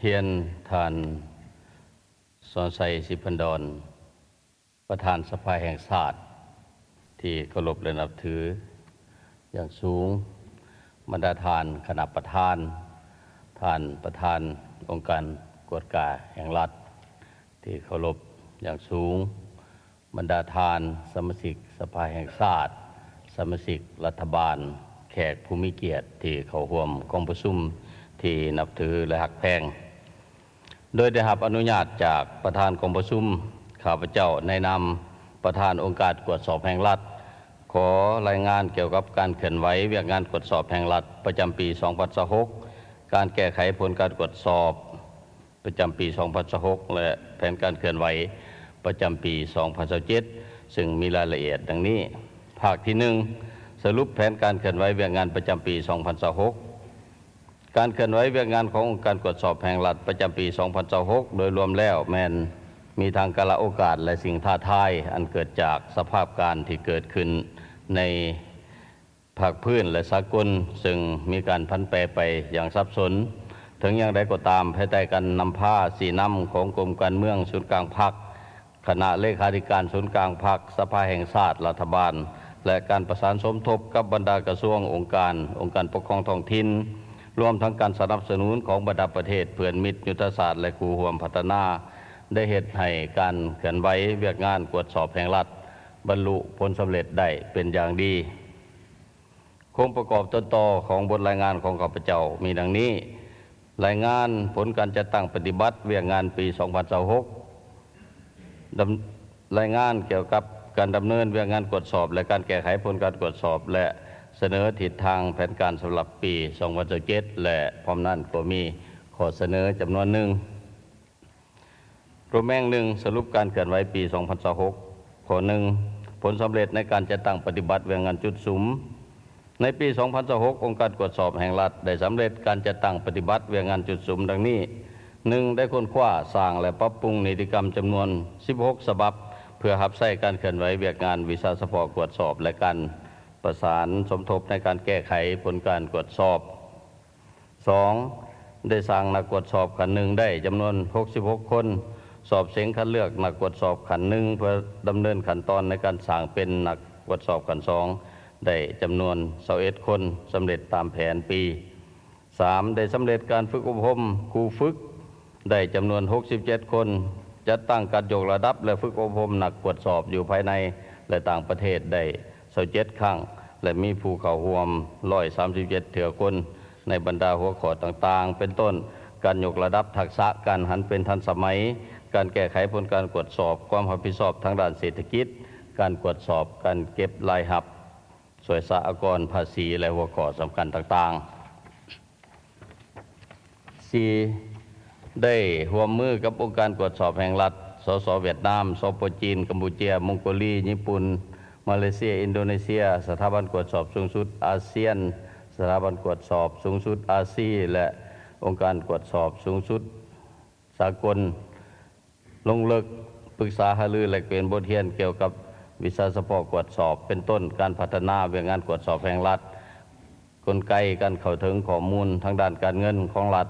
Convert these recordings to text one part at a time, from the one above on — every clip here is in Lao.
ຮຽນທ່ານ ສອນໄຊ ສິບພັນດອນ ປະທານສະພາແຫ່ງຊາດທີ່ເຄົາລົບ ແລະ ນັບຖືຢ່າງສູງ, ບັນດາທ່ານຄະນະປະທານ, ທ່ານປະທານອົງການກວດກາແຫ່ງລັດທີ່ເຄົາລົບຢ່າງສູງ, ບັນດາທ່ານສະມາຊິກສະພາແຫ່ງຊາດ, ສະມາຊິກລັດຖະບານ, ແຂກຜູ້ມີກຽດທີ່ເຂົ້າຮ່ວມກອງປະຊຸມທີ່ນັບຖື ແລະ ຮັກແພງ. ໂດຍໄດ້ຮັບອະນຸຍາດຈາກປະທານກອງປະຊຸມ, ຂ້າພະເຈົ້າໃນນາມປະທານອົງການກວດສອບແຫ່ງລັດ ຂໍລາຍງານກ່ຽວກັບການເຄື່ອນໄຫວວຽກງານກວດສອບແຫ່ງລັດປະຈຳປີສອງພັນຊາວຫົກ, ການແກ້ໄຂຜົນການກວດສອບປະຈຳປີສອງພັນຊາວຫົກ ແລະ ແຜນການເຄື່ອນໄຫວປະຈຳປີສອງພັນຊາວເຈັດ ຊຶ່ງມີລາຍລະອຽດດັ່ງນີ້. ພາກທີໜຶ່ງ ສະຫຼຸບແຜນການເຄື່ອນໄຫວວຽກງານປະຈຳປີສອງພັນຊາວຫົກ. ການເຄື່ອນໄຫວວຽກງານຂອງອົງການກວດສອບແຫ່ງລັດປະຈຳປີສອງພັນຊາວຫົກ ໂດຍລວມແລ້ວແມ່ນມີທັງກາລະໂອກາດ ແລະ ສິ່ງທ້າທາຍອັນເກີດຈາກສະພາບການທີ່ເກີດຂຶ້ນໃນພາກພື້ນ ແລະ ສາກົນ, ເຊິ່ງມີການຜັນແປໄປຢ່າງສັບສົນ. ເຖິງຢ່າງໃດກໍຕາມ, ພາຍໃຕ້ການນຳພາຊີ້ນຳຂອງກົມການເມືອງສູນກາງພັກ, ຄະນະເລຂາທິການສູນກາງພັກ, ສະພາແຫ່ງຊາດ, ລັດຖະບານ ແລະ ການປະສານສົມທົບກັບບັນດາກະຊວງ, ອົງການ, ອົງການປົກຄອງທ້ອງຖິ່ນ, ລວມທັງການສະໜັບສະໜູນຂອງບັນດາປະເທດເພື່ອນມິດຍຸດທະສາດ ແລະ ຄູ່ຮ່ວມພັດທະນາ ໄດ້ເຮັດໃຫ້ການເຄື່ອນໄຫວວຽກງານກວດສອບແຫ່ງລັດບັນລຸຜົນສຳເລັດໄດ້ເປັນຢ່າງດີ. ໂຄງປະກອບຕົ້ນຕໍຂອງບົດລາຍງານຂອງຂ້າພະເຈົ້າມີດັ່ງນີ້: ລາຍງານຜົນການຈັດຕັ້ງປະຕິບັດວຽກງານປີສອງພັນຊາວຫົກ, ດຳ, ລາຍງານກ່ຽວກັບການດຳເນີນວຽກງານກວດສອບ ແລະ ການແກ້ໄຂຜົນການກວດສອບ ແລະ ສະເໜີທິດທາງແຜນການສຳລັບປີສອງພັນຊາວເຈັດ ແລະ ພ້ອມນັ້ນກໍມີຂໍ້ສະເໜີຈຳນວນໜຶ່ງ. ໂຕແມງໜຶ່ງ ສະຫຼຸບການເຄື່ອນໄຫວປີສອງພັນຊາວຫົກ. ຂໍ້ໜຶ່ງ ຜົນສຳເລັດໃນການຈັດຕັ້ງປະຕິບັດວຽກງານຈຸດສຸມ. ໃນປີສອງພັນຊາວຫົກ ອົງການກວດສອບແຫ່ງລັດໄດ້ສຳເລັດການຈັດຕັ້ງປະຕິບັດວຽກງານຈຸດສຸມດັ່ງນີ້: ໜຶ່ງ ໄດ້ຄົ້ນຄວ້າ, ສ້າງ ແລະ ປັບປຸງນິຕິກຳຈຳນວນສິບຫົກສະບັບ ເພື່ອຮັບໃຊ້ການເຄື່ອນໄຫວວຽກງານວິຊາສະເພາະກວດສອບ ແລະ ການປະສານສົມທົບໃນການແກ້ໄຂຜົນການກວດສອບ. ສອງ ໄດ້ສ້າງນັກກວດສອບຂັ້ນໜຶ່ງໄດ້ຈຳນວນຫົກສິບຫົກຄົນ, ສອບເສັງຄັດເລືອກນັກກວດສອບຂັ້ນໜຶ່ງ ເພື່ອດຳເນີນຂັ້ນຕອນໃນການສ້າງເປັນນັກກວດສອບຂັ້ນສອງໄດ້ຈຳນວນຊາວເອັດຄົນ, ສຳເລັດຕາມແຜນປີ. ສາມ ໄດ້ສຳເລັດການຝຶກອົບຮົມຄູຝຶກໄດ້ຈຳນວນຫົກສິບເຈັດຄົນ, ຈັດຕັ້ງການຍົກລະດັບ ແລະ ຝຶກອົບຮົມນັກກວດສອບຢູ່ພາຍໃນ ແລະ ຕ່າງປະເທດໄດ້ຊາວເຈັດຄັ້ງ ແລະ ມີຜູ້ເຂົ້າຮ່ວມຮ້ອຍສາມສິບເຈັດເທື່ອຄົນ ໃນບັນດາຫົວຂໍ້ຕ່າງໆ ເປັນຕົ້ນ ການຍົກລະດັບທັກສະການຫັນເປັນທັນສະໄໝ, ການແກ້ໄຂຜົນການກວດສອບ, ຄວາມຮັບຜິດຊອບທາງດ້ານເສດຖະກິດ, ການກວດສອບການເກັບລາຍຮັບ ສ່ວຍສະອາກອນ, ພາສີ ແລະ ຫົວຂໍ້ສຳຄັນຕ່າງໆ. ສີ່ ໄດ້ຮ່ວມມືກັບອົງການກວດສອບແຫ່ງລັດ, ສສ ຫວຽດນາມ, ສປ ຈີນ, ກຳປູເຈຍ, ມົງໂກລີ, ຍີ່ປຸ່ນ, ມາເລເຊຍ, ອິນໂດເນເຊຍ, ສະຖາບັນກວດສອບສູງສຸດອາຊຽນ, ສະຖາບັນກວດສອບສູງສຸດອາຊີ ແລະ ອົງການກວດສອບສູງສຸດສາກົນ ລົງເລິກປຶກສາຫາລື ແລກປ່ຽນບົດຮຽນກ່ຽວກັບວິຊາສະເພາະກວດສອບ ເປັນຕົ້ນ ການພັດທະນາວຽກງານກວດສອບແຫ່ງລັດ, ກົນໄກການເຂົ້າເຖິງຂໍ້ມູນທາງດ້ານການເງິນຂອງລັດ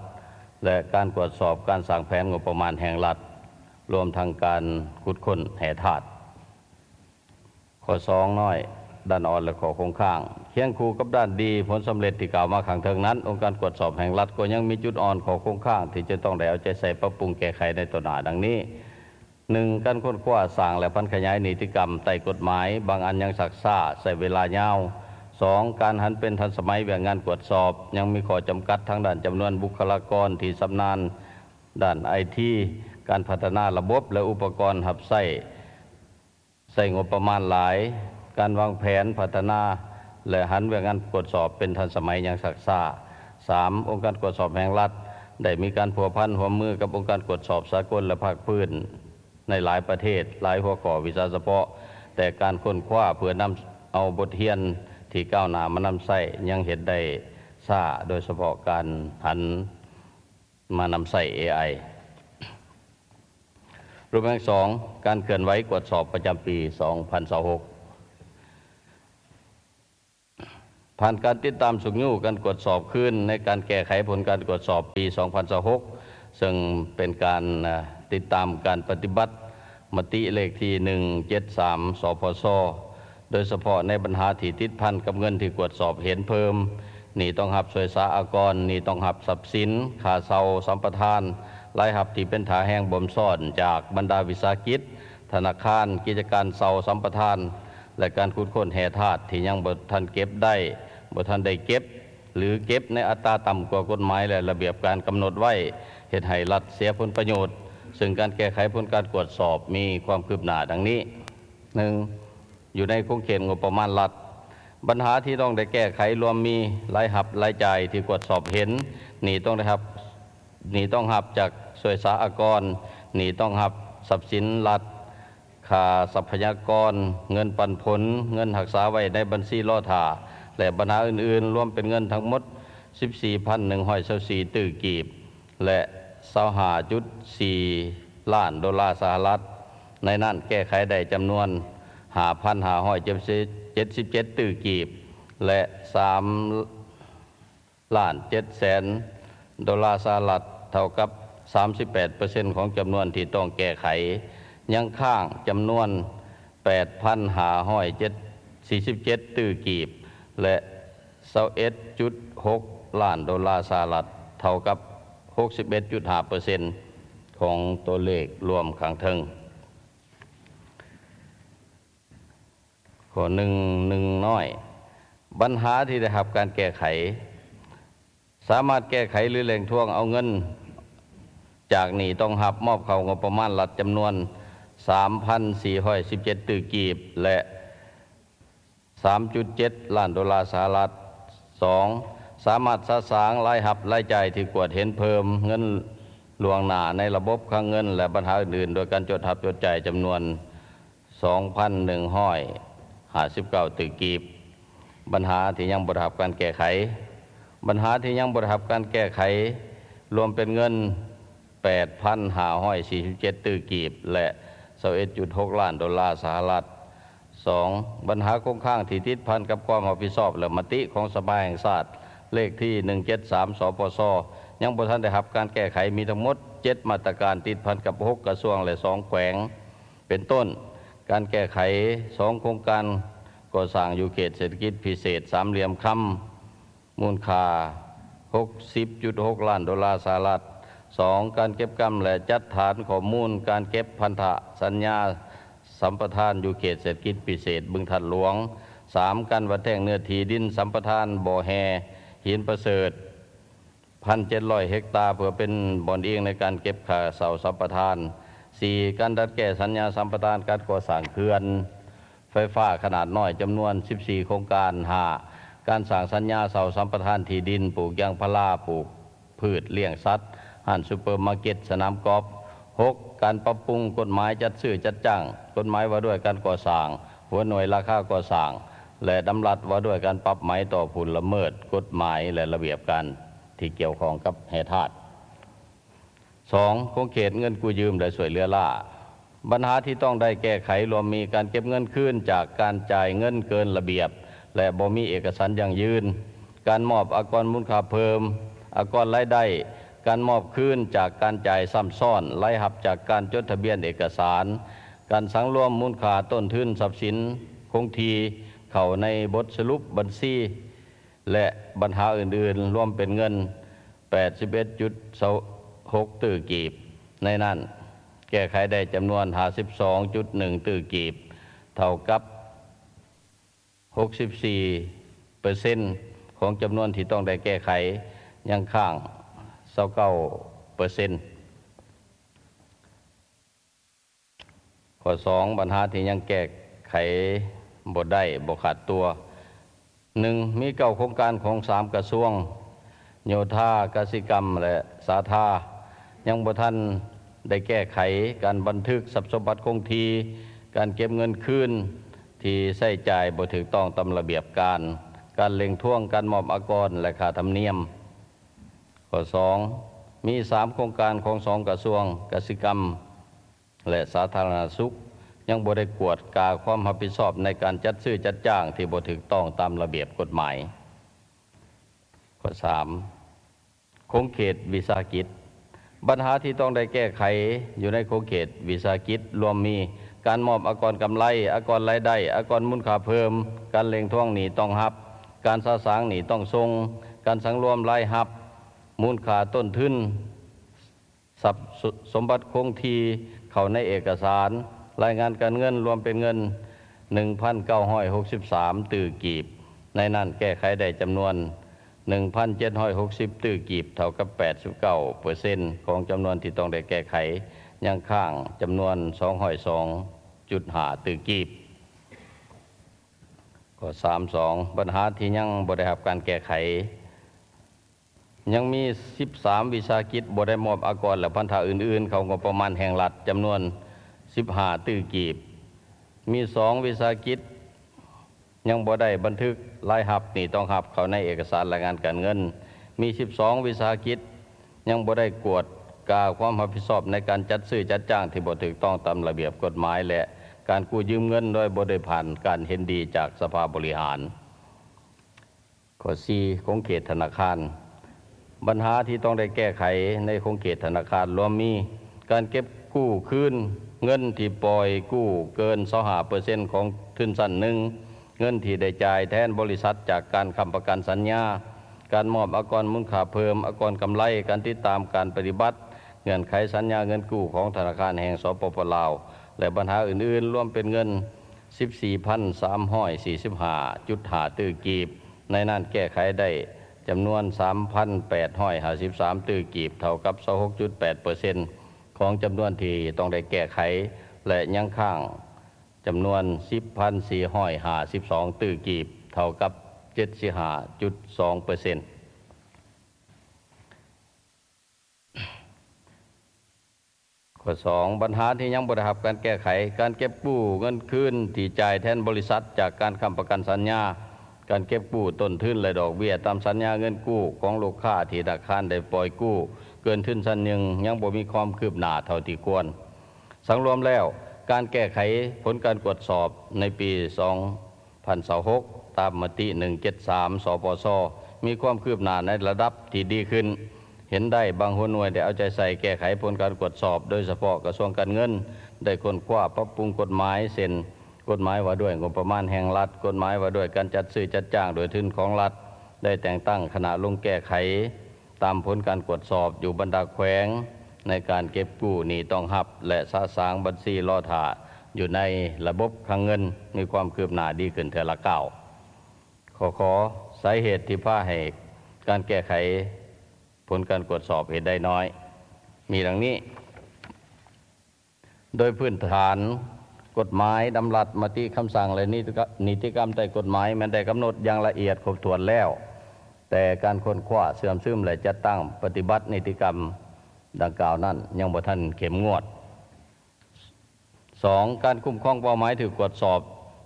ແລະ ການກວດສອບການສ້າງແຜນງົບປະມານແຫ່ງລັດ, ລວມທັງການຂຸດຄົ້ນແຮ່ທາດ. ຂໍ້ສອງນ້ອຍ, ດ້ານອ່ອນ ແລະ ຂໍ້ຄົງຄ້າງ. ຄຽງຄູ່ກັບດ້ານດີ, ຜົນສຳເລັດທີ່ກ່າວມາຂ້າງເທິງນັ້ນ, ອົງການກວດສອບແຫ່ງລັດກໍຍັງມີຈຸດອ່ອນ, ຂໍ້ຄົງຄ້າງທີ່ຈະຕ້ອງໄດ້ເອົາໃຈໃສ່ປັບປຸງແກ້ໄຂໃນຕໍ່ໜ້າ ດັ່ງນີ້: ໜຶ່ງ ການຄົ້ນຄວ້າ, ສ້າງ ແລະ ຜັນຂະຫຍາຍນິຕິກຳໃຕ້ກົດໝາຍ, ບາງອັນຍັງຊັກຊ້າ, ໃຊ້ເວລາຍາວ. ສອງ ການຫັນເປັນທັນສະໄໝວຽກງານກວດສອບ, ຍັງມີຂໍ້ຈຳກັດທາງດ້ານຈຳນວນບຸກຄະລາກອນທີ່ຊຳນານດ້ານໄອທີ, ການພັດທະນາລະບົບ ແລະ ອຸປະກອນຮັບໃຊ້ ໃຊ້ງົບປະມານຫຼາຍ, ການວາງແຜນພັດທະນາ ແລະ ຫັນວຽກງານກວດສອບເປັນທັນສະໄໝຍັງຊັກຊ້າ. ສາມ ອົງການກວດສອບແຫ່ງລັດໄດ້ມີການພົວພັນຮ່ວມມືກັບອົງການກວດສອບສາກົນ ແລະ ພາກພື້ນໃນຫຼາຍປະເທດ, ຫຼາຍຫົວຂໍ້ວິຊາສະເພາະ, ແຕ່ການຄົ້ນຄວ້າເພື່ອນຳເອົາບົດຮຽນທີ່ກ້າວໜ້າມານຳໃຊ້ຍັງເຮັດໄດ້ຊ້າ, ໂດຍສະເພາະການຫັນ ມານຳໃຊ້ເອໄອ. ຮູບແບບສອງ ການເຄື່ອນໄຫວກວດສອບປະຈຳປີສອງພັນຊາວຫົກ. ຜ່ານການຕິດຕາມຊຸກຍູ້ການກວດສອບຄືນໃນການແກ້ໄຂຜົນການກວດສອບປີສອງພັນຊາວຫົກ ເຊິ່ງເປັນການຕິດຕາມການປະຕິບັດມະຕິເລກທີໜຶ່ງເຈັດສາມ ສພຊ ໂດຍສະເພາະໃນບັນຫາທີ່ຕິດພັນກັບເງິນທີ່ກວດສອບເຫັນເພີ່ມ, ໜີ້ຕ້ອງຮັບຊ່ວຍສາອາກອນ, ໜີ້ຕ້ອງຮັບຊັບສິນ, ຄ່າເຊົ່າສຳປະທານ, ລາຍຮັບທີ່ເປັນທ່າແຮງບົ່ມຊ້ອນຈາກບັນດາວິສາຫະກິດ, ທະນາຄານ, ກິດຈະການເຊົ່າສຳປະທານ ແລະ ການຂຸດຄົ້ນແຮ່ທາດທີ່ຍັງບໍ່ທັນເກັບໄດ້, ບໍ່ທັນໄດ້ເກັບ ຫຼື ເກັບໃນອັດຕາຕ່ຳກວ່າກົດໝາຍ ແລະ ລະບຽບການກຳນົດໄວ້, ເຮັດໃຫ້ລັດເສຍຜົນປະໂຫຍດ, ເຊິ່ງການແກ້ໄຂຜົນການກວດສອບມີຄວາມຄືບໜ້າດັ່ງນີ້: ໜຶ່ງ, ຢູ່ໃນຂົງເຂດງົບປະມານລັດ, ບັນຫາທີ່ຕ້ອງໄດ້ແກ້ໄຂລວມມີ ລາຍຮັບ, ລາຍຈ່າຍທີ່ກວດສອບເຫັນ, ໜີ້ຕ້ອງໄດ້ຮັບ, ໜີ້ຕ້ອງຮັບຈາກສ່ວຍສາອາກອນ, ໜີ້ຕ້ອງຮັບຊັບສິນລັດ, ຄ່າຊັບພະຍາກອນ, ເງິນປັນຜົນ, ເງິນຮັກສາໄວ້ໃນບັນຊີລໍຖ້າ ແລະ ບັນຫາອື່ນໆ, ລວມເປັນເງິນທັງໝົດ ສິບສີ່ພັນໜຶ່ງຮ້ອຍຊາວສີ່ຕື້ກີບ ແລະ ຊາວຫ້າຈຸດສີ່ລ້ານໂດລາສະຫະລັດ. ໃນນັ້ນແກ້ໄຂໄດ້ຈຳນວນ ຫ້າພັນຫ້າຮ້ອຍເຈັດສິບເຈັດຕື້ກີບ ແລະ ສາມ ລ້ານເຈັດແສນໂດລາສະຫະລັດ, ເທົ່າກັບສາມສິບແປດເປີເຊັນຂອງຈຳນວນທີ່ຕ້ອງແກ້ໄຂ. ຍັງຄ້າງຈຳນວນ ແປດພັນຫ້າຮ້ອຍສີ່ສິບເຈັດຕື້ກີບ ແລະ ຊາວເອັດຈຸດຫົກລ້ານໂດລາສະຫະລັດ, ເທົ່າກັບຫົກສິບເອັດຈຸດຫ້າເປີເຊັນຂອງຕົວເລກລວມຂ້າງເທິງ. ຂໍ້ໜຶ່ງ ໜຶ່ງນ້ອຍ ບັນຫາທີ່ໄດ້ຮັບການແກ້ໄຂ ສາມາດແກ້ໄຂ ຫຼື ເລັ່ງທວງເອົາເງິນຈາກໜີ້ຕ້ອງຮັບມອບເຂົ້າງົບປະມານລັດຈຳນວນ ສາມພັນສີ່ຮ້ອຍສິບເຈັດຕື້ກີບ ແລະ ສາມຈຸດເຈັດລ້ານໂດລາສະຫະລັດ. ສອງ ສາມາດສະສາງລາຍຮັບ, ລາຍຈ່າຍທີ່ກວດເຫັນເພີ່ມ, ເງິນລ່ວງໜ້າໃນລະບົບຄັງເງິນ ແລະ ບັນຫາອື່ນໆ ໂດຍການຈົດຮັບຈົດຈ່າຍຈຳນວນ ສອງພັນໜຶ່ງຮ້ອຍຫ້າສິບເກົ້າຕື້ກີບ. ບັນຫາທີ່ຍັງບໍ່ໄດ້ຮັບການແກ້ໄຂ ບັນຫາທີ່ຍັງບໍ່ໄດ້ຮັບການແກ້ໄຂ ລວມເປັນເງິນ ແປດພັນຫ້າຮ້ອຍສີ່ສິບເຈັດຕື້ກີບ ແລະ ຊາວເອັດຈຸດຫົກລ້ານໂດລາສະຫະລັດ. ສອງ ບັນຫາຄົງຄ້າງທີ່ຕິດພັນກັບຄວາມຮັບຜິດຊອບ ແລະ ມະຕິຂອງສະພາແຫ່ງຊາດ ເລກທີໜຶ່ງເຈັດສາມ ສປຊ ຍັງບໍ່ທັນໄດ້ຮັບການແກ້ໄຂ ມີທັງໝົດເຈັດມາດຕະການ ຕິດພັນກັບຫົກກະຊວງ ແລະ ສອງແຂວງ ເປັນຕົ້ນ ການແກ້ໄຂສອງໂຄງການກໍ່ສ້າງຢູ່ເຂດເສດຖະກິດພິເສດສາມຫຼ່ຽມຄຳ ມູນຄ່າຫົກສິບຈຸດຫົກລ້ານໂດລາສະຫະລັດ. ສອງ ການເກັບກຳ ແລະ ຈັດຖານຂໍ້ມູນການເກັບພັນທະສັນຍາສຳປະທານຢູ່ເຂດເສດຖະກິດພິເສດບຶງທາດຫຼວງ. ສາມ ການວັດແທງເນື້ອທີ່ດິນສຳປະທານບໍ່ແຮ່ຫີນປະເສີດ ໜຶ່ງພັນເຈັດຮ້ອຍເຮັກຕາ ເພື່ອເປັນບ່ອນອີງໃນການເກັບຄ່າເຊົ່າສຳປະທານ. ສີ່ ການດັດແກ້ສັນຍາສຳປະທານການກໍ່ສ້າງເຂື່ອນ ໄຟຟ້າຂະໜາດນ້ອຍຈຳນວນສິບສີ່ໂຄງການ. ຫ້າ ການສ້າງສັນຍາເຊົ່າສຳປະທານທີ່ດິນ ປູກຢາງພາລາ, ປູກພືດລ້ຽງສັດ, ຮ້ານຊຸບເປີມາເກັດ, ສະໜາມກອບ. ຫົກ ການປັບປຸງກົດໝາຍຈັດຊື້ຈັດຈ້າງ, ກົດໝາຍວ່າດ້ວຍການກໍ່ສ້າງ, ຫົວໜ່ວຍລາຄາກໍ່ສ້າງ ແລະ ດຳລັດວ່າດ້ວຍການປັບໃໝຕໍ່ຜູ້ລະເມີດກົດໝາຍ ແລະ ລະບຽບການທີ່ກ່ຽວຂ້ອງກັບແຮ່ທາດ. ສອງ ຂົງເຂດເງິນກູ້ຢືມ ແລະ ຊ່ວຍເຫຼືອລ້າ. ບັນຫາທີ່ຕ້ອງໄດ້ແກ້ໄຂລວມມີ ການເກັບເງິນຄືນຈາກການຈ່າຍເງິນເກີນລະບຽບ ແລະ ບໍ່ມີເອກະສານຢັ້ງຢືນ, ການມອບອາກອນມູນຄ່າເພີ່ມ, ອາກອນລາຍໄດ້, ການມອບຄືນຈາກການຈ່າຍຊ້ຳຊ້ອນ, ລາຍຮັບຈາກການຈົດທະບຽນເອກະສານ, ການສັງລວມມູນຄ່າຕົ້ນທຶນຊັບສິນຄົງທີ່ເຂົ້າໃນບົດສະຫຼຸບບັນຊີ ແລະ ບັນຫາອື່ນໆ ລວມເປັນເງິນ ແປດສິບເອັດຈຸດຊາວຫົກຕື້ກີບ. ໃນນັ້ນ ແກ້ໄຂໄດ້ຈຳນວນ ຫ້າສິບສອງຈຸດໜຶ່ງຕື້ກີບ ເທົ່າກັບ ຫົກສິບສີ່ເປີເຊັນຂອງຈຳນວນທີ່ຕ້ອງໄດ້ແກ້ໄຂ, ຍັງຄ້າງ ຊາວເກົ້າເປີເຊັນ. ຂໍ້ສອງ ບັນຫາທີ່ຍັງແກ້ໄຂບໍ່ໄດ້, ບໍ່ຂາດຕົວ. ໜຶ່ງ ມີເກົ້າໂຄງການຂອງສາມກະຊວງ, ໂຍທາ, ກະສິກຳ ແລະ ສາທາ ຍັງບໍ່ທັນໄດ້ແກ້ໄຂ. ການບັນທຶກຊັບສົມບັດຄົງທີ່, ການເກັບເງິນຄືນທີ່ໃຊ້ຈ່າຍບໍ່ຖືກຕ້ອງຕາມລະບຽບການ, ການເລັ່ງທວງການມອບອາກອນ ແລະ ຄ່າທຳນຽມ. ຂໍ້ສອງ ມີສາມໂຄງການຂອງສອງກະຊວງ, ກະສິກຳ ແລະ ສາທາລະນະສຸກ ຍັງບໍ່ໄດ້ກວດກາຄວາມຮັບຜິດຊອບໃນການຈັດຊື້ຈັດຈ້າງທີ່ບໍ່ຖືກຕ້ອງຕາມລະບຽບກົດໝາຍ. ຂໍ້ສາມ ຂົງເຂດວິສາຫະກິດ. ບັນຫາທີ່ຕ້ອງໄດ້ແກ້ໄຂຢູ່ໃນຂົງເຂດວິສາຫະກິດລວມມີ ການມອບອາກອນກຳໄລ, ອາກອນລາຍໄດ້, ອາກອນມູນຄ່າເພີ່ມ, ການເລັ່ງທວງໜີ້ຕ້ອງຮັບ, ການສະສາງໜີ້ຕ້ອງສົ່ງ, ການສັງລວມລາຍຮັບ, ມູນຄ່າຕົ້ນທຶນ, ຊັບສົມບັດຄົງທີ່ເຂົ້າໃນເອກະສານ, ລາຍງານການເງິນລວມເປັນເງິນ ໜຶ່ງພັນເກົ້າຮ້ອຍຫົກສິບສາມຕື້ກີບ, ໃນນັ້ນແກ້ໄຂໄດ້ຈຳນວນ ໜຶ່ງພັນເຈັດຮ້ອຍຫົກສິບຕື້ກີບ ເທົ່າກັບ ແປດສິບເກົ້າເປີເຊັນ ຂອງຈຳນວນທີ່ຕ້ອງໄດ້ແກ້ໄຂ, ຍັງຄ້າງຈຳນວນ ສອງຮ້ອຍສອງຈຸດຫ້າຕື້ກີບ. ຂໍ້ສາມສອງ ບັນຫາທີ່ຍັງບໍ່ໄດ້ຮັບການແກ້ໄຂ. ຍັງມີສິບສາມວິສາຫະກິດບໍ່ໄດ້ມອບອາກອນ ແລະ ພັນທະອື່ນໆ ເຂົ້າງົບປະມານແຫ່ງລັດ ຈຳນວນສິບຫ້າຕື້ກີບ. ມີສອງວິສາຫະກິດຍັງບໍ່ໄດ້ບັນທຶກລາຍຮັບໜີ້ຕ້ອງຮັບເຂົ້າໃນເອກະສານລາຍງານການເງິນ. ມີສິບສອງວິສາຫະກິດຍັງບໍ່ໄດ້ກວດກາຄວາມຮັບຜິດຊອບໃນການຈັດຊື້ຈັດຈ້າງທີ່ບໍ່ຖືກຕ້ອງຕາມລະບຽບກົດໝາຍ ແລະ ການກູ້ຢືມເງິນໂດຍບໍ່ໄດ້ຜ່ານການເຫັນດີຈາກສະພາບໍລິຫານ. ຂໍ້ສີ່ ຂົງເຂດທະນາຄານ. ບັນຫາທີ່ຕ້ອງໄດ້ແກ້ໄຂໃນຂົງເຂດທະນາຄານລວມມີ ການເກັບກູ້ຄືນເງິນທີ່ປ່ອຍກູ້ເກີນ ຊາວຫ້າເປີເຊັນ ຂອງທຶນຊັ້ນໜຶ່ງ, ເງິນທີ່ໄດ້ຈ່າຍແທນບໍລິສັດຈາກການຄ້ຳປະກັນສັນຍາ, ການມອບອາກອນມູນຄ່າເພີ່ມ, ອາກອນກຳໄລ, ການຕິດຕາມການປະຕິບັດເງື່ອນໄຂສັນຍາເງິນກູ້ຂອງທະນາຄານແຫ່ງ ສປປ ລາວ ແລະ ບັນຫາອື່ນໆ ລວມເປັນເງິນ ສິບສີ່ພັນສາມຮ້ອຍສີ່ສິບຫ້າຈຸດຫ້າຕື້ກີບ, ໃນນັ້ນແກ້ໄຂໄດ້ຈຳນວນ ສາມພັນແປດຮ້ອຍຫ້າສິບສາມຕື້ກີບ ເທົ່າກັບ ຊາວຫົກຈຸດແປດເປີເຊັນ ຂອງຈຳນວນທີ່ຕ້ອງໄດ້ແກ້ໄຂ ແລະ ຍັງຄ້າງຈຳນວນ ສິບພັນສີ່ຮ້ອຍຫ້າສິບສອງຕື້ກີບ ເທົ່າກັບ ເຈັດສິບຫ້າຈຸດສອງເປີເຊັນ. ຂໍ້ສອງ ບັນຫາທີ່ຍັງບໍ່ໄດ້ຮັບການແກ້ໄຂ, ການເກັບກູ້ເງິນຄືນທີ່ຈ່າຍແທນບໍລິສັດຈາກການຄ້ຳປະກັນສັນຍາ, ການເກັບກູ້ຕົ້ນທຶນ ແລະ ດອກເບ້ຍຕາມສັນຍາເງິນກູ້ຂອງລູກຄ້າທີ່ທະນາຄານໄດ້ປ່ອຍກູ້ເກີນທຶນຊັ້ນໜຶ່ງ ຍັງບໍ່ມີຄວາມຄືບໜ້າເທົ່າທີ່ຄວນ. ສັງລວມແລ້ວ, ການແກ້ໄຂຜົນການກວດສອບໃນປີສອງ ພັນຊາວຫົກ ຕາມມະຕິ ໜຶ່ງເຈັດສາມ ສປຊ ມີຄວາມຄືບໜ້າໃນລະດັບທີ່ດີຂຶ້ນ. ເຫັນໄດ້ບາງຫົວໜ່ວຍໄດ້ເອົາໃຈໃສ່ແກ້ໄຂຜົນການກວດສອບ, ໂດຍສະເພາະກະຊວງການເງິນໄດ້ຄົ້ນຄວ້າປັບປຸງກົດໝາຍ ເຊັ່ນ ກົດໝາຍວ່າດ້ວຍງົບປະມານແຫ່ງລັດ, ກົດໝາຍວ່າດ້ວຍການຈັດຊື້ຈັດຈ້າງດ້ວຍທຶນຂອງລັດ, ໄດ້ແຕ່ງຕັ້ງຄະນະລົງແກ້ໄຂ ຕາມຜົນການກວດສອບຢູ່ບັນດາແຂວງ ໃນການເກັບກູ້ໜີ້ຕ້ອງຮັບ ແລະ ສະສາງບັນຊີລໍຖ້າຢູ່ໃນລະບົບຄັງເງິນ ມີຄວາມຄືບໜ້າດີຂຶ້ນເທື່ອລະກ້າວ. ຂໍ້ ຂໍ ສາເຫດທີ່ພາໃຫ້ການແກ້ໄຂຜົນການກວດສອບເຮັດໄດ້ນ້ອຍ ມີດັ່ງນີ້. ໂດຍພື້ນຖານ, ກົດໝາຍ, ດຳລັດ, ມະຕິ, ຄຳສັ່ງ ແລະ ນິຕິກະ ນິຕິກຳໃຕ້ກົດໝາຍ ແມ່ນໄດ້ກຳນົດຢ່າງລະອຽດຄົບຖ້ວນແລ້ວ, ແຕ່ການຄົ້ນຄວ້າ, ເຊື່ອມຊຶມ ແລະ ຈັດຕັ້ງປະຕິບັດນິຕິກຳດັ່ງກ່າວນັ້ນ ຍັງບໍ່ທັນເຂັ້ມງວດ. ສອງ, ການຄຸ້ມຄອງເປົ້າໝາຍຖືກກວດສອບ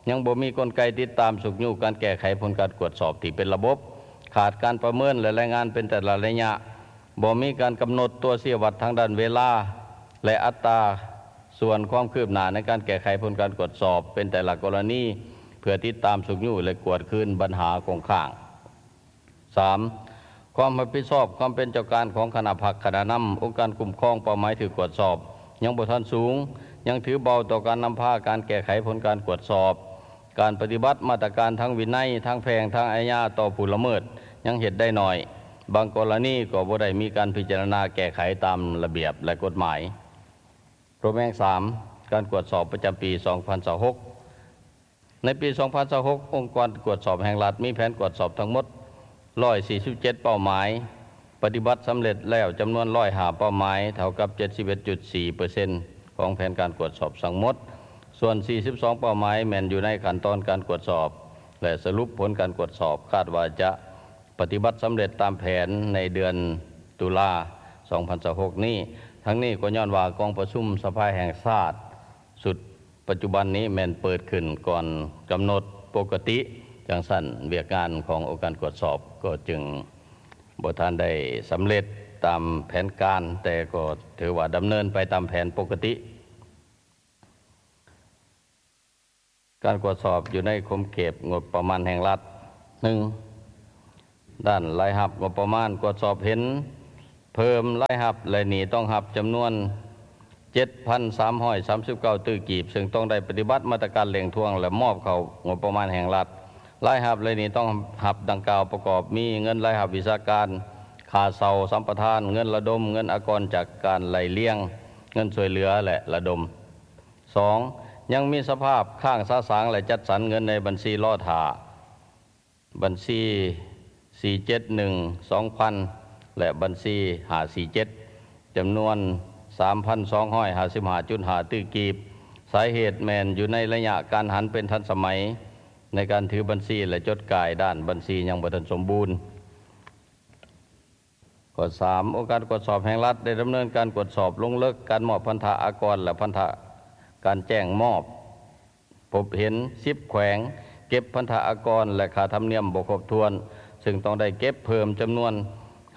ຍັງບໍ່ມີກົນໄກຕິດຕາມຊຸກຍູ້ການແກ້ໄຂຜົນການກວດສອບທີ່ເປັນລະບົບ, ຂາດການປະເມີນ ແລະ ລາຍງານເປັນແຕ່ລະໄລຍະ, ບໍ່ມີການກຳນົດຕົວຊີ້ວັດທາງດ້ານເວລາ ແລະ ອັດຕາສ່ວນຄວາມຄືບໜ້າໃນການແກ້ໄຂຜົນການກວດສອບເປັນແຕ່ລະກໍລະນີ ເພື່ອຕິດຕາມຊຸກຍູ້ ແລະ ກວດຄືນບັນຫາຄົງຄ້າງ. ສາມ, ຄວາມຮັບຜິດຊອບຄວາມເປັນເຈົ້າການຂອງຄະນະພັກຄະນະນຳ ອົງການຄຸ້ມຄອງເປົ້າໝາຍຖືກກວດສອບ ຍັງບໍ່ທັນສູງ, ຍັງຖືເບົາຕໍ່ການນຳພາການແກ້ໄຂຜົນການກວດສອບ, ການປະຕິບັດມາດຕະການທາງວິໄນ, ທາງແພ່ງ, ທາງອາຍາຕໍ່ຜູ້ລະເມີດ ຍັງເຮັດໄດ້ໜ້ອຍ, ບາງກໍລະນີກໍບໍ່ໄດ້ມີການພິຈາລະນາແກ້ໄຂຕາມລະບຽບ ແລະ ກົດໝາຍ. ໂຕແມງ ສາມ, ການກວດສອບປະຈຳປີສອງພັນຊາວຫົກ. ໃນປີສອງພັນຊາວຫົກ ອົງການກວດສອບແຫ່ງລັດມີແຜນກວດສອບທັງໝົດຮ້ອຍສີ່ສິບເຈັດເປົ້າໝາຍ, ປະຕິບັດສຳເລັດແລ້ວຈຳນວນຮ້ອຍຫ້າເປົ້າໝາຍ ເທົ່າກັບເຈັດສິບເອັດຈຸດສີ່ເປີເຊັນ ຂອງແຜນການກວດສອບທັງໝົດ, ສ່ວນສີ່ສິບສອງເປົ້າໝາຍແມ່ນຢູ່ໃນຂັ້ນຕອນການກວດສອບ ແລະ ສະຫຼຸບຜົນການກວດສອບ ຄາດວ່າຈະປະຕິບັດສຳເລັດຕາມແຜນໃນເດືອນຕຸລາ ສອງພັນຊາວຫົກນີ້. ທັງນີ້ກໍຍ້ອນວ່າກອງປະຊຸມສະພາແຫ່ງຊາດຊຸດ ປັດຈຸບັນນີ້ແມ່ນເປີດຂຶ້ນກ່ອນກຳນົດປົກກະຕິ, ຈັ່ງຊັ້ນວຽກງານຂອງອົງການກວດສອບກໍຈຶ່ງບໍ່ທັນໄດ້ສຳເລັດຕາມແຜນການ, ແຕ່ກໍຖືວ່າດຳເນີນໄປຕາມແຜນປົກກະຕິ. ການກວດສອບຢູ່ໃນຂົງເຂດງົບປະມານແຫ່ງລັດ. ໜຶ່ງ, ດ້ານລາຍຮັບງົບປະມານ, ກວດສອບເຫັນ ເພີ່ມລາຍຮັບ ແລະ ໜີ້ຕ້ອງຮັບຈຳນວນ ເຈັດພັນສາມຮ້ອຍສາມສິບເກົ້າຕື້ກີບ, ເຊິ່ງຕ້ອງໄດ້ປະຕິບັດມາດຕະການເລັ່ງທວງ ແລະ ມອບເຂົ້າງົບປະມານແຫ່ງລັດ. ລາຍຮັບ ແລະ ໜີ້ຕ້ອງຮັບດັ່ງກ່າວປະກອບມີ ເງິນລາຍຮັບວິຊາການ, ຄ່າເຊົ່າສຳປະທານ, ເງິນລະດົມ, ເງິນອາກອນຈາກການໄລ່ລຽງ, ເງິນຊ່ວຍເຫຼືອ ແລະ ລະດົມ. ສອງ, ຍັງມີສະພາບຄ້າງສະສາງ ແລະ ຈັດສັນເງິນໃນບັນຊີລໍຖ້າ, ບັນຊີສີ່ເຈັດໜຶ່ງສອງພັນ ແລະ ບັນຊີຫ້າສີ່ເຈັດ ຈຳນວນສາມພັນສອງຮ້ອຍຫ້າສິບຫ້າຈຸດຫ້າຕື້ກີບ. ສາເຫດແມ່ນຢູ່ໃນໄລຍະການຫັນເປັນທັນສະໄໝໃນການຖືບັນຊີ ແລະ ຈົດກາຍດ້ານບັນຊີຍັງບໍ່ທັນສົມບູນ. ຂໍ້ສາມ, ອົງການກວດສອບແຫ່ງລັດໄດ້ດຳເນີນການກວດສອບລົງເລິກການມອບພັນທະອາກອນ ແລະ ພັນທະການແຈ້ງມອບ ພົບເຫັນສິບແຂວງເກັບພັນທະອາກອນ ແລະ ຄ່າທຳນຽມບໍ່ຄົບຖ້ວນ, ເຊິ່ງຕ້ອງໄດ້ເກັບເພີ່ມຈຳນວນ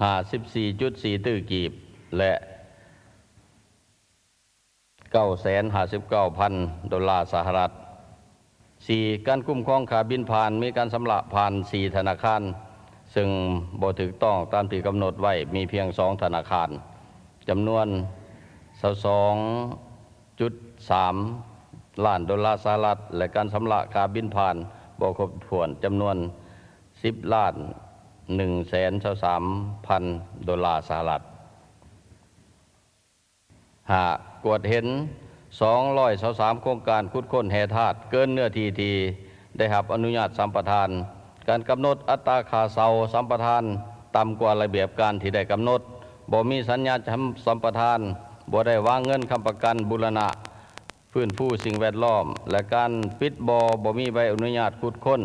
ຫ້າສິບສີ່ຈຸດສີ່ຕື້ກີບ ແລະ ເກົ້າແສນຫ້າສິບເກົ້າພັນໂດລາສະຫະລັດ. ສີ່, ການຄຸ້ມຄອງຄ່າບິນຜ່ານ ມີການຊຳລະຜ່ານສີ່ທະນາຄານ ເຊິ່ງບໍ່ຖືກຕ້ອງຕາມທີ່ກຳນົດໄວ້ ມີພຽງສອງທະນາຄານ ຈຳນວນຊາວສອງຈຸດສາມລ້ານໂດລາສະຫະລັດ ແລະ ການຊຳລະຄ່າບິນຜ່ານບໍ່ຄົບຖ້ວນ ຈຳນວນສິບລ້ານໜຶ່ງແສນຊາວສາມພັນໂດລາສະຫະລັດ. ຫ້າ, ກວດເຫັນສອງຮ້ອຍຊາວສາມໂຄງການຂຸດຄົ້ນແຮ່ທາດເກີນເນື້ອທີ່ທີ່ໄດ້ຮັບອະນຸຍາດສຳປະທານ, ການກຳນົດອັດຕາຄ່າເຊົ່າສຳປະທານຕ່ຳກວ່າລະບຽບການທີ່ໄດ້ກຳນົດ, ບໍ່ມີສັນຍາສຳປະທານ, ບໍ່ໄດ້ວາງເງິນຄ້ຳປະກັນບູລະນະຟື້ນຟູສິ່ງແວດລ້ອມ ແລະ ການປິດບໍ່ ບໍ່ມີໃບອະນຸຍາດຂຸດຄົ້ນ,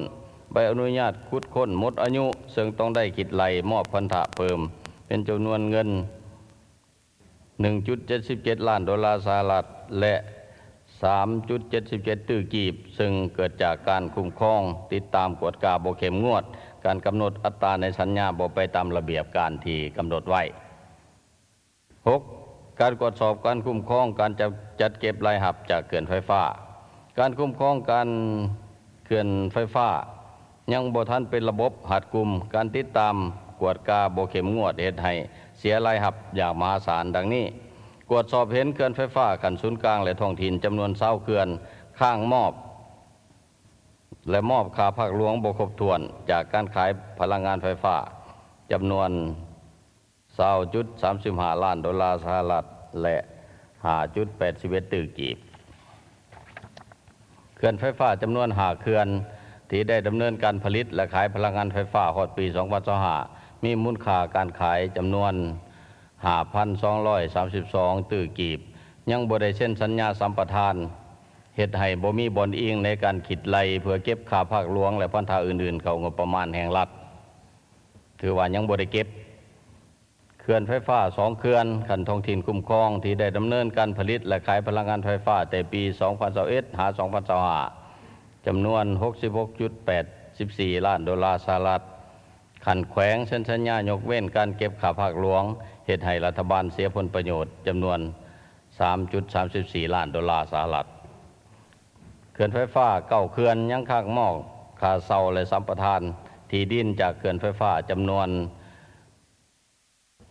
ໃບອະນຸຍາດຂຸດຄົ້ນໝົດອາຍຸ, ເຊິ່ງຕ້ອງໄດ້ຄິດໄລ່ມອບພັນທະເພີ່ມເປັນຈຳນວນເງິນ ໜຶ່ງຈຸດເຈັດສິບເຈັດລ້ານໂດລາສະຫະລັດ ແລະ ສາມຈຸດເຈັດສິບເຈັດຕື້ກີບ, ເຊິ່ງເກີດຈາກການຄຸ້ມຄອງ, ຕິດຕາມ, ກວດກາບໍ່ເຂັ້ມງວດ, ການກຳນົດອັດຕາໃນສັນຍາບໍ່ໄປຕາມລະບຽບການທີ່ກຳນົດໄວ້. ຫົກ, ການກວດສອບການຄຸ້ມຄອງການຈັດ ຈັດເກັບລາຍຮັບຈາກເຂື່ອນໄຟຟ້າ. ການຄຸ້ມຄອງການເຂື່ອນໄຟຟ້າ ຍັງບໍ່ທັນເປັນລະບົບຮັດກຸມ, ການຕິດຕາມກວດກາບໍ່ເຂັ້ມງວດ ເຮັດໃຫ້ເສຍລາຍຮັບຢ່າງມະຫາສານ ດັ່ງນີ້: ກວດສອບເຫັນເຂື່ອນໄຟຟ້າຂັ້ນສູນກາງ ແລະ ທ້ອງຖິ່ນຈຳນວນຊາວເຂື່ອນ ຄ້າງມອບ ແລະ ມອບຄ່າພາກຫຼວງບໍ່ຄົບຖ້ວນຈາກການຂາຍພະລັງງານໄຟຟ້າ ຈຳນວນ ຊາວຈຸດສາມສິບຫ້າລ້ານໂດລາສະຫະລັດ ແລະ ຫ້າຈຸດແປດສິບເອັດຕື້ກີບ. ເຂື່ອນໄຟຟ້າຈຳນວນຫ້າເຂື່ອນ ທີ່ໄດ້ດຳເນີນການຜະລິດ ແລະ ຂາຍພະລັງງານໄຟຟ້າຮອດປີສອງພັນຊາວຫ້າ ມີມູນຄ່າການຂາຍຈຳນວນຫ້າພັນສອງຮ້ອຍສາມສິບສອງຕື້ກີບ ຍັງບໍ່ໄດ້ເຊັນສັນຍາສຳປະທານ, ເຮັດໃຫ້ບໍ່ມີບ່ອນອີງໃນການຄິດໄລ່ເພື່ອເກັບຄ່າພາກຫຼວງ ແລະ ພັນທະອື່ນໆເຂົ້າງົບປະມານແຫ່ງລັດ ຖືວ່າຍັງບໍ່ໄດ້ເກັບ. ເຂື່ອນໄຟຟ້າສອງເຂື່ອນ ຂັ້ນທ້ອງຖິ່ນຄຸ້ມຄອງ ທີ່ໄດ້ດຳເນີນການຜະລິດ ແລະ ຂາຍພະລັງງານໄຟຟ້າແຕ່ປີສອງພັນຊາວເອັດ ຫາ ສອງພັນຊາວຫ້າ ຈຳນວນຫົກສິບຫົກຈຸດແປດສິບສີ່ລ້ານໂດລາສະຫະລັດ, ຂັ້ນແຂວງເຊັນສັນຍາຍົກເວັ້ນການເກັບຄ່າພາກຫຼວງ, ເຮັດໃຫ້ລັດຖະບານເສຍຜົນປະໂຫຍດຈຳນວນສາມຈຸດສາມສິບສີ່ລ້ານໂດລາສະຫະລັດ. ເຂື່ອນໄຟຟ້າເກົ້າເຂື່ອນຍັງຄ້າງມອບຄ່າເຊົ່າ ແລະ ສຳປະທານທີ່ດິນຈາກເຂື່ອນໄຟຟ້າຈຳນວນ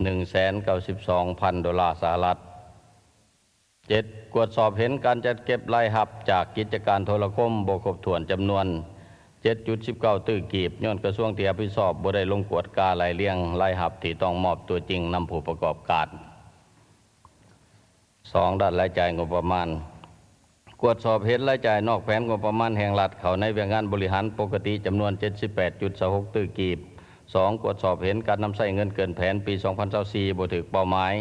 ໜຶ່ງແສນເກົ້າສິບສອງພັນໂດລາສະຫະລັດ. ເຈັດ, ກວດສອບເຫັນການຈັດເກັບລາຍຮັບຈາກກິດຈະການໂທລະຄົມບໍ່ຄົບຖ້ວນຈຳນວນເຈັດຈຸດສິບເກົ້າຕື້ກີບ ຍ້ອນກະຊວງທີ່ຮັບຜິດຊອບບໍ່ໄດ້ລົງກວດກາໄລ່ລຽງລາຍຮັບທີ່ຕ້ອງມອບຕົວຈິງນຳຜູ້ປະກອບການ. ສອງ, ດ້ານລາຍຈ່າຍງົບປະມານ. ກວດສອບເຫັນລາຍຈ່າຍນອກແຜນງົບປະມານແຫ່ງລັດເຂົ້າໃນວຽກງານບໍລິຫານປົກກະຕິຈຳນວນເຈັດສິບແປດຈຸດຊາວຫົກຕື້ກີບ. ສອງ, ກວດສອບເຫັນການນຳໃຊ້ເງິນເກີນແຜນປີສອງພັນຊາວສີ່ບໍ່ຖືກເປົ້າໝາຍ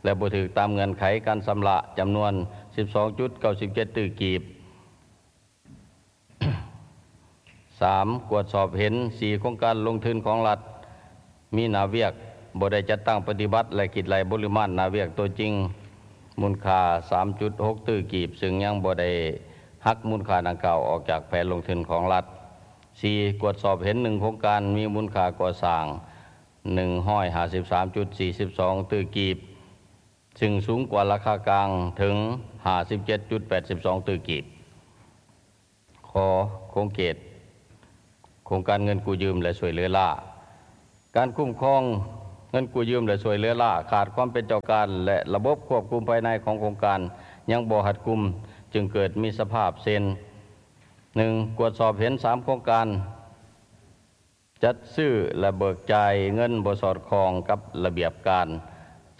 ແລະ ບໍ່ຖືກຕາມເງື່ອນໄຂການຊຳລະຈຳນວນສິບສອງຈຸດເກົ້າສິບເຈັດຕື້ກີບ. ສາມ, ກວດສອບເຫັນສີ່ໂຄງການລົງທຶນຂອງລັດ ມີໜ້າວຽກບໍ່ໄດ້ຈັດຕັ້ງປະຕິບັດ ແລະ ຄິດໄລ່ປະລິມານໜ້າວຽກຕົວຈິງ ມູນຄ່າສາມຈຸດຫົກຕື້ກີບ ເຊິ່ງຍັງບໍ່ໄດ້ຫັກມູນຄ່າດັ່ງກ່າວອອກຈາກແຜນລົງທຶນຂອງລັດ. ສີ່, ກວດສອບເຫັນໜຶ່ງໂຄງການມີມູນຄ່າກໍ່ສ້າງໜຶ່ງຮ້ອຍຫ້າສິບສາມຈຸດສີ່ສິບສອງຕື້ກີບ ຊຶ່ງສູງກວ່າລາຄາກາງເຖິງຫ້າສິບເຈັດຈຸດແປດສິບສອງຕື້ກີບ. ຂໍຂອບເຂດໂຄງການເງິນກູ້ຢືມ ແລະ ຊ່ວຍເຫຼືອລ້າ. ການຄຸ້ມຄອງ ເງິນກູ້ຢືມ ແລະ ຊ່ວຍເຫຼືອລ້າ, ຂາດຄວາມເປັນເຈົ້າການ ແລະ ລະບົບຄວບຄຸມພາຍໃນຂອງໂຄງການຍັງບໍ່ຮັດກຸມ, ຈຶ່ງເກີດມີສະພາບເຊັ່ນ: ໜຶ່ງ, ກວດສອບເຫັນສາມໂຄງການ ຈັດຊື້ ແລະ ເບີກຈ່າຍເງິນບໍ່ສອດຄ່ອງກັບລະບຽບການ,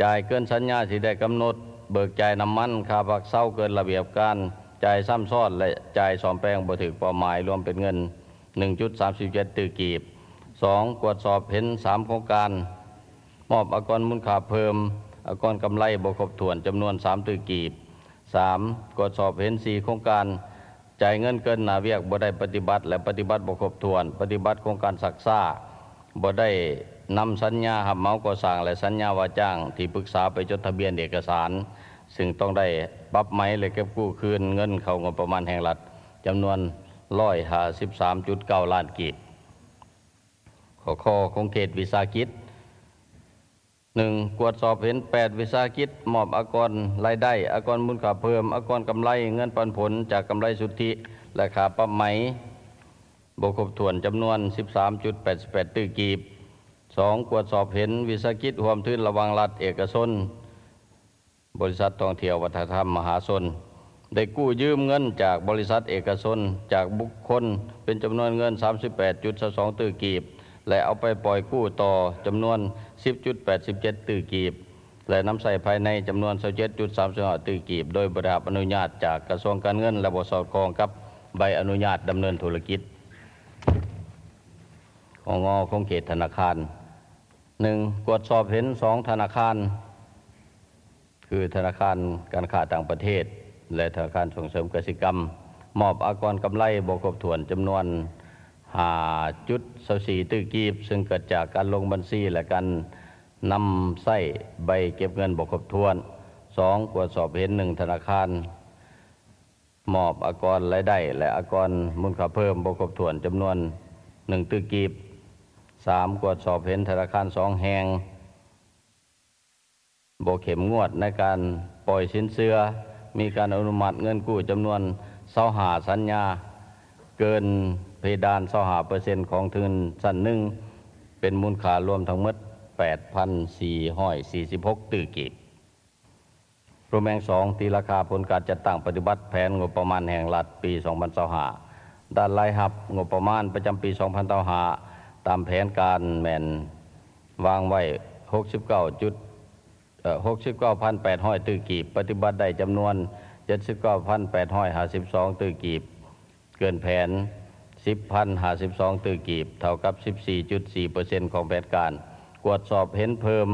ຈ່າຍເກີນສັນຍາທີ່ໄດ້ກຳນົດ, ເບີກຈ່າຍນ້ຳມັນ, ຄ່າພັກເຊົາເກີນລະບຽບການ, ຈ່າຍຊ້ຳຊ້ອນ ແລະ ຈ່າຍສ້ອມແປງບໍ່ຖືກເປົ້າໝາຍ, ລວມເປັນເງິນ ໜຶ່ງຈຸດສາມສິບເຈັດຕື້ກີບ. ສອງ, ກວດສອບເຫັນສາມໂຄງການ ມອບອາກອນມູນຄ່າເພີ່ມ, ອາກອນກຳໄລບໍ່ຄົບຖ້ວນ ຈຳນວນສາມຕື້ກີບ. ສາມ, ກວດສອບເຫັນສີ່ໂຄງການ ຈ່າຍເງິນເກີນໜ້າວຽກບໍ່ໄດ້ປະຕິບັດ ແລະ ປະຕິບັດບໍ່ຄົບຖ້ວນ, ປະຕິບັດໂຄງການຊັກຊ້າ, ບໍ່ໄດ້ນຳສັນຍາຮັບເໝົາກໍ່ສ້າງ ແລະ ສັນຍາວ່າຈ້າງທີ່ປຶກສາໄປຈົດທະບຽນເອກະສານ, ຊຶ່ງຕ້ອງໄດ້ປັບໃໝ ແລະ ເກັບກູ້ຄືນເງິນເຂົ້າງົບປະມານແຫ່ງລັດ ຈຳນວນຮ້ອຍຫ້າສິບສາມຈຸດເກົ້າລ້ານກີບ. ຂໍ້ ຂ ຂົງເຂດວິສາຫະກິດ ໜຶ່ງ, ກວດສອບເຫັນແປດວິສາຫະກິດ ມອບອາກອນລາຍໄດ້, ອາກອນມູນຄ່າເພີ່ມ, ອາກອນກຳໄລ, ເງິນປັນຜົນຈາກກຳໄລສຸດທິ ແລະ ຄ່າປັບໃໝ ບໍ່ຄົບຖ້ວນ ຈຳນວນສິບສາມຈຸດແປດສິບແປດຕື້ກີບ. ສອງ, ກວດສອບເຫັນວິສາຫະກິດຮ່ວມທຶນລະຫວ່າງລັດເອກະຊົນ, ບໍລິສັດທ່ອງທ່ຽວວັດທະນະທຳມະຫາຊົນ ໄດ້ກູ້ຢືມເງິນຈາກບໍລິສັດເອກະຊົນ, ຈາກບຸກຄົນ ເປັນຈຳນວນເງິນສາມສິບແປດຈຸດຊາວສອງຕື້ກີບ ແລະ ເອົາໄປປ່ອຍກູ້ຕໍ່ຈຳນວນສິບຈຸດແປດສິບເຈັດຕື້ກີບ ແລະ ນຳໃຊ້ພາຍໃນຈຳນວນຊາວເຈັດຈຸດສາມສິບຫ້າຕື້ກີບ ໂດຍບໍ່ໄດ້ຮັບອະນຸຍາດຈາກກະຊວງການເງິນ ແລະ ບໍ່ສອດຄ່ອງກັບໃບອະນຸຍາດດຳເນີນທຸລະກິດ. ຂ ງ ຂົງເຂດທະນາຄານ ໜຶ່ງ, ກວດສອບເຫັນສອງທະນາຄານ ຄືທະນາຄານການຄ້າຕ່າງປະເທດ ແລະ ທະນາຄານສົ່ງເສີມກະສິກຳ ມອບອາກອນກຳໄລບໍ່ຄົບຖ້ວນຈຳນວນຫ້າຈຸດຊາວສີ່ຕື້ກີບ, ຊຶ່ງເກີດຈາກການລົງບັນຊີ ແລະ ການນຳໃຊ້ໃບເກັບເງິນບໍ່ຄົບຖ້ວນ. ສອງ, ກວດສອບເຫັນໜຶ່ງທະນາຄານ ມອບອາກອນລາຍໄດ້ ແລະ ອາກອນມູນຄ່າເພີ່ມບໍ່ຄົບຖ້ວນຈຳນວນໜຶ່ງຕື້ກີບ. ສາມ, ກວດສອບເຫັນທະນາຄານສອງແຫ່ງ ບໍ່ເຂັ້ມງວດໃນການປ່ອຍສິນເຊື່ອ, ມີການອະນຸມັດເງິນກູ້ຈຳນວນຊາວຫ້າສັນຍາ ເກີນເພດານຊາວຫ້າເປີເຊັນຂອງທຶນຊັ້ນໜຶ່ງ ເປັນມູນຄ່າລວມທັງໝົດແປດພັນສີ່ຮ້ອຍສີ່ສິບຫົກຕື້ກີບ. ໂຣແມງສອງ, ຕີລາຄາຜົນການຈັດຕັ້ງປະຕິບັດແຜນງົບປະມານແຫ່ງລັດປີສອງພັນຊາວຫ້າ ດ້ານລາຍຮັບງົບປະມານປະຈຳປີສອງພັນຊາວຫ້າ ຕາມແຜນການແມ່ນວາງໄວ້ຫົກສິບເກົ້າຈຸດ ເອີ ຫົກສິບເກົ້າພັນແປດຮ້ອຍຕື້ກີບ, ປະຕິບັດໄດ້ຈຳນວນເຈັດສິບເກົ້າພັນແປດຮ້ອຍຫ້າສິບສອງຕື້ກີບ, ເກີນແຜນສິບພັນຫ້າສິບສອງຕື້ກີບ ເທົ່າກັບສິບສີ່ຈຸດສີ່ເປີເຊັນຂອງແຜນການ. ກວດສອບເຫັນເພີ່ມ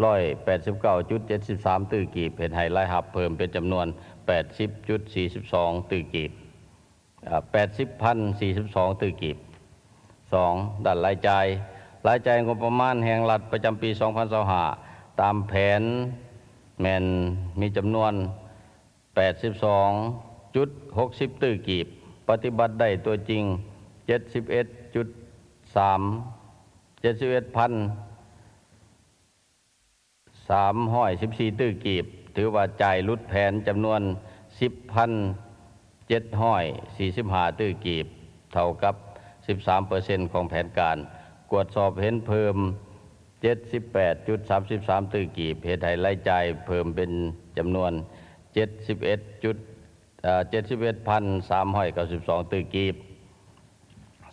ຮ້ອຍແປດສິບເກົ້າຈຸດເຈັດສິບສາມຕື້ກີບ, ເຮັດໃຫ້ລາຍຮັບເພີ່ມເປັນຈຳນວນແປດສິບຈຸດສີ່ສິບສອງຕື້ກີບ ເອີ ແປດສິບພັນສີ່ສິບສອງຕື້ກີບ. ສອງ, ດ້ານລາຍຈ່າຍ, ລາຍຈ່າຍງົບປະມານແຫ່ງລັດປະຈຳປີສອງພັນຊາວຫ້າ ຕາມແຜນແມ່ນມີຈຳນວນແປດສິບສອງຈຸດຫົກສິບຕື້ກີບ, ປະຕິບັດໄດ້ຕົວຈິງເຈັດສິບເອັດຈຸດສາມ ເຈັດສິບເອັດພັນ ສາມຮ້ອຍສິບສີ່ຕື້ກີບ, ຖືວ່າຈ່າຍຫຼຸດແຜນຈຳນວນສິບພັນເຈັດຮ້ອຍສີ່ສິບຫ້າຕື້ກີບ, ເທົ່າກັບສິບສາມເປີເຊັນຂອງແຜນການ. ກວດສອບເຫັນເພີ່ມເຈັດສິບແປດຈຸດສາມສິບສາມຕື້ກີບ, ເຮັດໃຫ້ລາຍຈ່າຍເພີ່ມເປັນຈຳນວນເຈັດສິບເອັດຈຸດ ເອີ ເຈັດສິບເອັດພັນສາມຮ້ອຍເກົ້າສິບສອງຕື້ກີບ.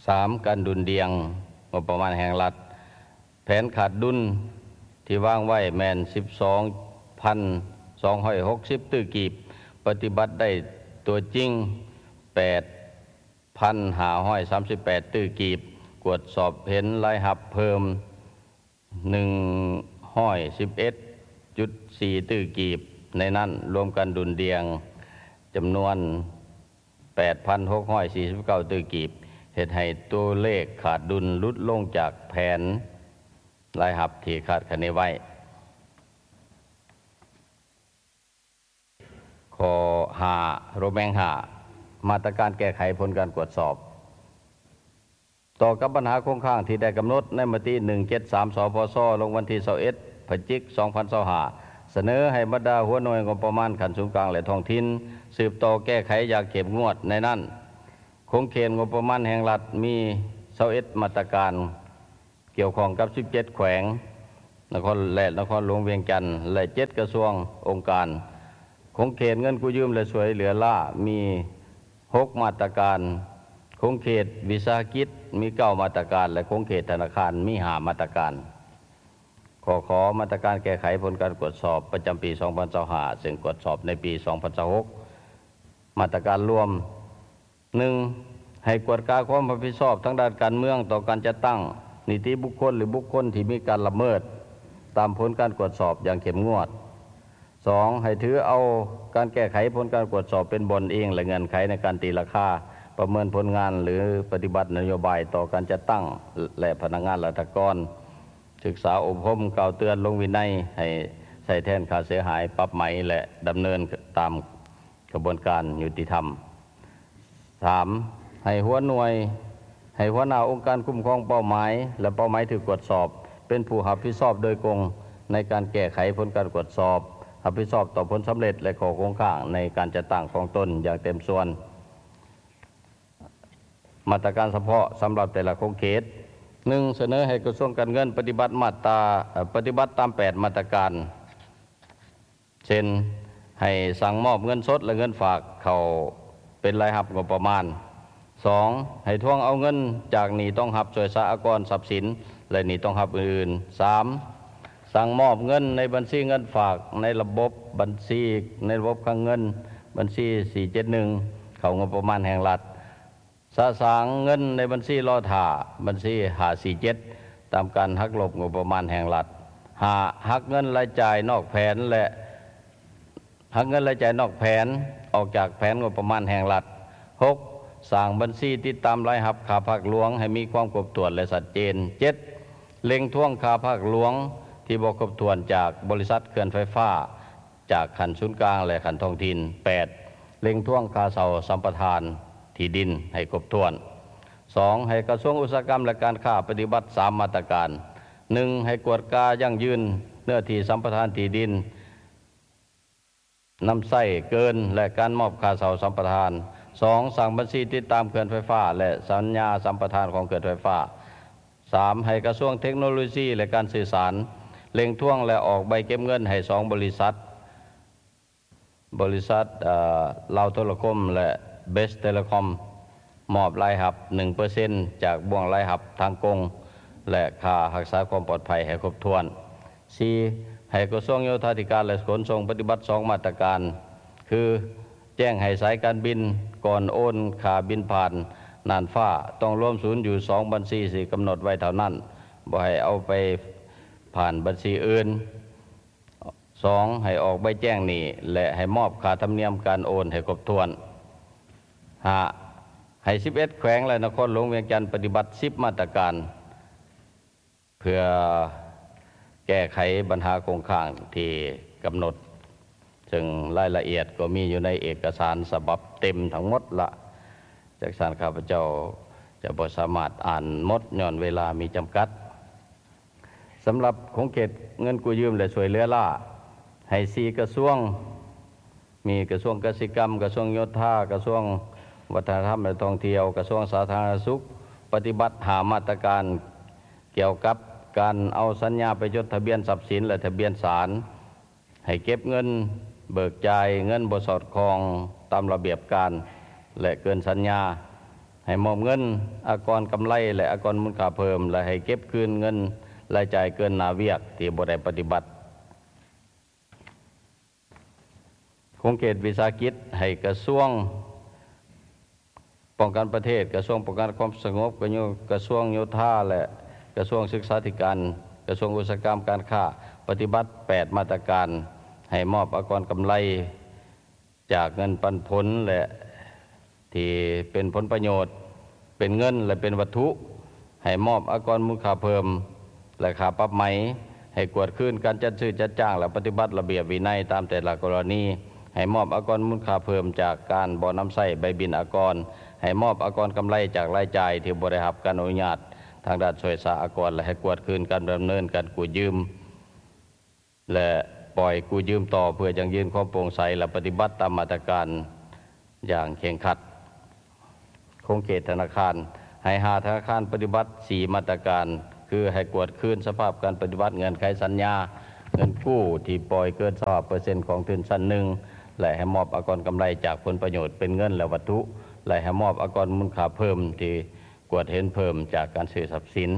ສາມ, ການດຸ່ນດ່ຽງງົບປະມານແຫ່ງລັດ, ແຜນຂາດດຸນທີ່ວາງໄວ້ແມ່ນສິບສອງພັນສອງຮ້ອຍຫົກສິບຕື້ກີບ, ປະຕິບັດໄດ້ຕົວຈິງແປດພັນຫ້າຮ້ອຍສາມສິບແປດຕື້ກີບ, ກວດສອບເຫັນລາຍຮັບເພີ່ມ ໜຶ່ງຮ້ອຍສິບເອັດຈຸດສີ່ຕື້ກີບ, ໃນນັ້ນລວມການດຸ່ນດ່ຽງຈຳນວນແປດພັນຫົກຮ້ອຍສີ່ສິບເກົ້າຕື້ກີບ, ເຮັດໃຫ້ຕົວເລກຂາດດຸນຫຼຸດລົງຈາກແຜນລາຍຮັບທີ່ຄາດຄະເນໄວ້. ຂໍ້ຫ້າ ໂຣແມງຫ້າ ມາດຕະການແກ້ໄຂຜົນການກວດສອບ. ຕໍ່ກັບບັນຫາຄົງຄ້າງທີ່ໄດ້ກຳນົດໃນມະຕິ ໜຶ່ງເຈັດສາມ ສພຊ ລົງວັນທີ ຊາວເອັດ ພະຈິກ ສອງພັນຊາວຫ້າ ສະເໜີໃຫ້ບັນດາຫົວໜ່ວຍງົບປະມານຂັ້ນສູນກາງ ແລະ ທ້ອງຖິ່ນ ສືບຕໍ່ແກ້ໄຂຢ່າງເຂັ້ມງວດ. ໃນນັ້ນ, ຂົງເຂດງົບປະມານແຫ່ງລັດມີ ຊາວເອັດ ມາດຕະການ ກ່ຽວຂ້ອງກັບ ສິບເຈັດ ແຂວງ, ນະຄອນ ແລະ ນະຄອນຫຼວງວຽງຈັນ ແລະ ເຈັດກະຊວງອົງການ. ຂົງເຂດເງິນກູ້ຢືມ ແລະ ຊ່ວຍເຫຼືອລ້າມີຫົກມາດຕະການ, ຂົງເຂດວິສາຫະກິດມີເກົ້າມາດຕະການ ແລະ ຂົງເຂດທະນາຄານມີຫ້າມາດຕະການ. ຂໍ້ຂໍມາດຕະການແກ້ໄຂຜົນການກວດສອບປະຈຳປີສອງພັນຊາວຫ້າ ເຊິ່ງກວດສອບໃນປີສອງພັນຊາວຫົກ. ມາດຕະການລວມ ໜຶ່ງ ໃຫ້ກວດກາຄວາມຮັບຜິດຊອບທາງດ້ານການເມືອງຕໍ່ການຈັດຕັ້ງນິຕິບຸກຄົນ ຫຼື ບຸກຄົນທີ່ມີການລະເມີດຕາມຜົນການກວດສອບຢ່າງເຂັ້ມງວດ. ສອງ ໃຫ້ຖືເອົາການແກ້ໄຂຜົນການກວດສອບເປັນບ່ອນອີງ ແລະ ເງື່ອນໄຂໃນການຕີລາຄາ, ປະເມີນຜົນງານ ຫຼື ປະຕິບັດນະໂຍບາຍຕໍ່ການຈັດຕັ້ງ ແລະ ພະນັກງານລັດຖະກອນ. ສຶກສາອົບຮົມ, ກ່າວເຕືອນ, ລົງວິໄນ ໃຫ້ໃຊ້ແທນຄ່າເສຍຫາຍ, ປັບໃໝ ແລະ ດຳເນີນຕາມຂະບວນການຍຸຕິທຳ. ສາມ ໃຫ້ຫົວໜ່ວຍ, ໃຫ້ຫົວໜ້າອົງການຄຸ້ມຄອງເປົ້າໝາຍ ແລະ ເປົ້າໝາຍຖືກກວດສອບ ເປັນຜູ້ຮັບຜິດຊອບໂດຍກົງໃນການແກ້ໄຂຜົນການກວດສອບ, ຮັບຜິດຊອບຕໍ່ຜົນສຳເລັດ ແລະ ຂໍ້ຄົງຄ້າງໃນການຈັດຕັ້ງຂອງຕົນຢ່າງເຕັມສ່ວນ. ມາດຕະການສະເພາະສຳລັບແຕ່ລະຂົງເຂດ. ໜຶ່ງ ສະເໜີໃຫ້ກະຊວງການເງິນປະຕິບັດມາດຕາ ເອີ ປະຕິບັດຕາມແປດມາດຕະການ ເຊັ່ນ ໃຫ້ສັ່ງມອບເງິນສົດ ແລະ ເງິນຝາກເຂົ້າເປັນລາຍຮັບງົບປະມານ. ສອງ ໃຫ້ທວງເອົາເງິນຈາກໜີ້ຕ້ອງຮັບຊ່ວຍສາອາກອນຊັບສິນ ແລະ ໜີ້ຕ້ອງຮັບອື່ນໆ. ສາມ ສັ່ງມອບເງິນໃນບັນຊີເງິນຝາກໃນລະບົບບັນຊີ ໃນລະບົບຄັງເງິນ ບັນຊີສີ່ເຈັດໜຶ່ງ ເຂົ້າງົບປະມານແຫ່ງລັດ. ສະສາງເງິນໃນບັນຊີລໍຖ້າ ບັນຊີຫ້າສີ່ເຈັດ ຕາມການຫັກລົບງົບປະມານແຫ່ງລັດ. ຫ້າ ຫັກເງິນລາຍຈ່າຍນອກແຜນ ແລະ ຫັກເງິນລາຍຈ່າຍນອກແຜນອອກຈາກແຜນງົບປະມານແຫ່ງລັດ. ຫົກ ສ້າງບັນຊີຕິດຕາມລາຍຮັບຄ່າພາກຫຼວງໃຫ້ມີຄວາມຄົບຖ້ວນ ແລະ ຊັດເຈນ. ເຈັດ ເລັ່ງທວງຄ່າພາກຫຼວງທີ່ບໍ່ຄົບຖ້ວນຈາກບໍລິສັດເຂື່ອນໄຟຟ້າ ຈາກຂັ້ນສູນກາງ ແລະ ຂັ້ນທ້ອງຖິ່ນ. ແປດ ເລັ່ງທວງຄ່າເຊົ່າສຳປະທານທີ່ດິນໃຫ້ຄົບຖ້ວນ. ສອງ ໃຫ້ກະຊວງອຸດສາຫະກຳ ແລະ ການຄ້າປະຕິບັດສາມມາດຕະການ. ໜຶ່ງ ໃຫ້ກວດກາຢັ້ງຢືນເນື້ອທີ່ສຳປະທານທີ່ດິນນຳໃຊ້ເກີນ ແລະ ການມອບຄ່າເຊົ່າສຳປະທານ. ສອງ ສ້າງບັນຊີຕິດຕາມເຂື່ອນໄຟຟ້າ ແລະ ສັນຍາສຳປະທານຂອງເຂື່ອນໄຟຟ້າ. ສາມ ໃຫ້ກະຊວງເທັກໂນໂລຊີ ແລະ ການສື່ສານເລັ່ງທວງ ແລະ ອອກໃບເກັບເງິນໃຫ້ສອງບໍລິສັດ, ບໍລິສັດ ເອີ ລາວໂທລະຄົມ ແລະ ເບສເທເລຄອມ ມອບລາຍຮັບໜຶ່ງເປີເຊັນ ຈາກບ່ວງລາຍຮັບທາງກົງ ແລະ ຄ່າຮັກສາຄວາມປອດໄພໃຫ້ຄົບຖ້ວນ. ສີ່ ໃຫ້ກະຊວງໂຍທາທິການ ແລະ ຂົນສົ່ງປະຕິບັດສອງມາດຕະການ ຄື ແຈ້ງໃຫ້ສາຍການບິນ ກ່ອນໂອນຄ່າບິນຜ່ານນ່ານຟ້າ ຕ້ອງລວມສູນຢູ່ສອງບັນຊີທີ່ກຳນົດໄວ້ເທົ່ານັ້ນ, ບໍ່ໃຫ້ເອົາໄປຜ່ານບັນຊີອື່ນ. ສອງ ໃຫ້ອອກໃບແຈ້ງໜີ້ ແລະ ໃຫ້ມອບຄ່າທຳນຽມການໂອນໃຫ້ຄົບຖ້ວນ. ຫ້າ ໃຫ້ສິບເອັດແຂວງ ແລະ ນະຄອນຫຼວງວຽງຈັນປະຕິບັດສິບມາດຕະການ ເພື່ອແກ້ໄຂບັນຫາຄົງຄ້າງທີ່ກຳນົດ, ເຊິ່ງລາຍລະອຽດກໍມີຢູ່ໃນເອກະສານສະບັບເຕັມທັງໝົດລະ. ຈັ່ງຊັ້ນ ຂ້າພະເຈົ້າຈະບໍ່ສາມາດອ່ານໝົດ ຍ້ອນເວລາມີຈຳກັດ. ສຳລັບຂົງເຂດເງິນກູ້ຢືມ ແລະ ຊ່ວຍເຫຼືອລ້າ ໃຫ້ສີ່ກະຊວງ ມີກະຊວງກະສິກຳ, ກະຊວງໂຍທາ, ກະຊວງວັດທະນະທຳ ແລະ ທ່ອງທ່ຽວ, ກະຊວງສາທາລະນະສຸກ ປະຕິບັດຫ້າມາດຕະການ ກ່ຽວກັບການເອົາສັນຍາໄປຈົດທະບຽນຊັບສິນ ແລະ ທະບຽນສານ, ໃຫ້ເກັບເງິນເບີກຈ່າຍເງິນບໍ່ສອດຄ່ອງຕາມລະບຽບການ ແລະ ເກີນສັນຍາ, ໃຫ້ມອບເງິນອາກອນກຳໄລ ແລະ ອາກອນມູນຄ່າເພີ່ມ ແລະ ໃຫ້ເກັບຄືນເງິນລາຍຈ່າຍເກີນໜ້າວຽກທີ່ບໍ່ໄດ້ປະຕິບັດ. ຂົງເຂດວິສາຫະກິດ ໃຫ້ກະຊວງປ້ອງກັນປະເທດ, ກະຊວງປ້ອງກັນຄວາມສະຫງົບ, ກະຊວງໂຍທາ ແລະ ກະຊວງສຶກສາທິການ, ກະຊວງອຸດສາຫະກຳການຄ້າ ປະຕິບັດແປດມາດຕະການ ໃຫ້ມອບອາກອນກຳໄລ ຈາກເງິນປັນຜົນ ແລະ ທີ່ເປັນຜົນປະໂຫຍດ ເປັນເງິນ ແລະ ເປັນວັດຖຸ, ໃຫ້ມອບອາກອນມູນຄ່າເພີ່ມ ແລະ ຄ່າປັບໃໝ, ໃຫ້ກວດຄືນການຈັດຊື້ຈັດຈ້າງ ແລະ ປະຕິບັດລະບຽບວິໄນຕາມແຕ່ລະກໍລະນີ, ໃຫ້ມອບອາກອນມູນຄ່າເພີ່ມຈາກການບໍ່ນຳໃຊ້ໃບບິນອາກອນ, ໃຫ້ມອບອາກອນກຳໄລຈາກລາຍຈ່າຍທີ່ບໍ່ໄດ້ຮັບການອະນຸຍາດທາງດ້ານຊ່ວຍສາອາກອນ ແລະ ໃຫ້ກວດຄືນການດຳເນີນການກູ້ຢືມ ແລະ ປ່ອຍກູ້ຢືມຕໍ່ ເພື່ອຢັ້ງຢືນຄວາມໂປ່ງໃສ ແລະ ປະຕິບັດຕາມມາດຕະການຢ່າງເຄັ່ງຄັດ. ຂົງເຂດທະນາຄານ ໃຫ້ຫ້າທະນາຄານປະຕິບັດສີ່ມາດຕະການ ຄື ຄືໃຫ້ກວດຄືນສະພາບການປະຕິບັດເງື່ອນໄຂສັນຍາເງິນກູ້ທີ່ປ່ອຍເກີນຊາວເປີເຊັນຂອງທຶນຊັ້ນໜຶ່ງ ແລະ ໃຫ້ມອບອາກອນກຳໄລຈາກຜົນປະໂຫຍດເປັນເງິນ ແລະ ວັດຖຸ ແລະ ໃຫ້ມອບອາກອນມູນຄ່າເພີ່ມທີ່ກວດເຫັນເພີ່ມຈາກການຊື້ຊັບສິນ.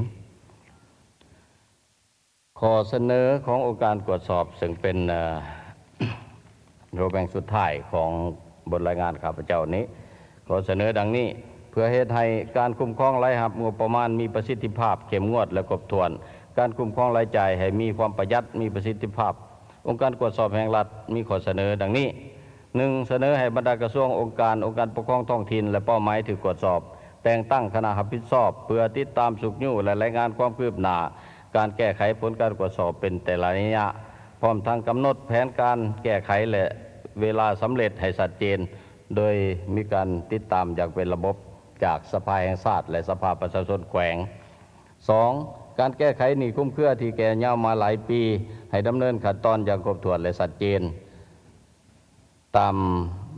ຂໍ້ສະເໜີຂອງອົງການກວດສອບ ເຊິ່ງເປັນ ເອີ ໂຕແບ່ງສຸດທ້າຍຂອງບົດລາຍງານຂ້າພະເຈົ້ານີ້ ຂໍສະເໜີດັ່ງນີ້: ເພື່ອເຮັດໃຫ້ການຄຸ້ມຄອງລາຍຮັບງົບປະມານມີປະສິດທິພາບ, ເຂັ້ມງວດ ແລະ ຄົບຖ້ວນ, ການຄຸ້ມຄອງລາຍຈ່າຍໃຫ້ມີຄວາມປະຢັດ, ມີປະສິດທິພາບ, ອົງການກວດສອບແຫ່ງລັດມີຂໍ້ສະເໜີດັ່ງນີ້: ໜຶ່ງ, ສະເໜີໃຫ້ບັນດາກະຊວງ, ອົງການ, ອົງການປົກຄອງທ້ອງຖິ່ນ ແລະ ເປົ້າໝາຍຖືກກວດສອບ ແຕ່ງຕັ້ງຄະນະຮັບຜິດຊອບ ເພື່ອຕິດຕາມຊຸກຍູ້ ແລະ ລາຍງານຄວາມຄືບໜ້າການແກ້ໄຂຜົນການກວດສອບເປັນແຕ່ລະໄລຍະ, ພ້ອມທັງກຳນົດແຜນການແກ້ໄຂ ແລະ ເວລາສຳເລັດໃຫ້ຊັດເຈນ, ໂດຍມີການຕິດຕາມຢ່າງເປັນລະບົບຈາກສະພາແຫ່ງຊາດ ແລະ ສະພາປະຊາຊົນແຂວງ. ສອງ, ການແກ້ໄຂໜີ້ຄຸມເຄືອທີ່ແກ່ຍາວມາຫຼາຍປີ ໃຫ້ດຳເນີນຂັ້ນຕອນຢ່າງຄົບຖ້ວນ ແລະ ຊັດເຈນ ຕາມ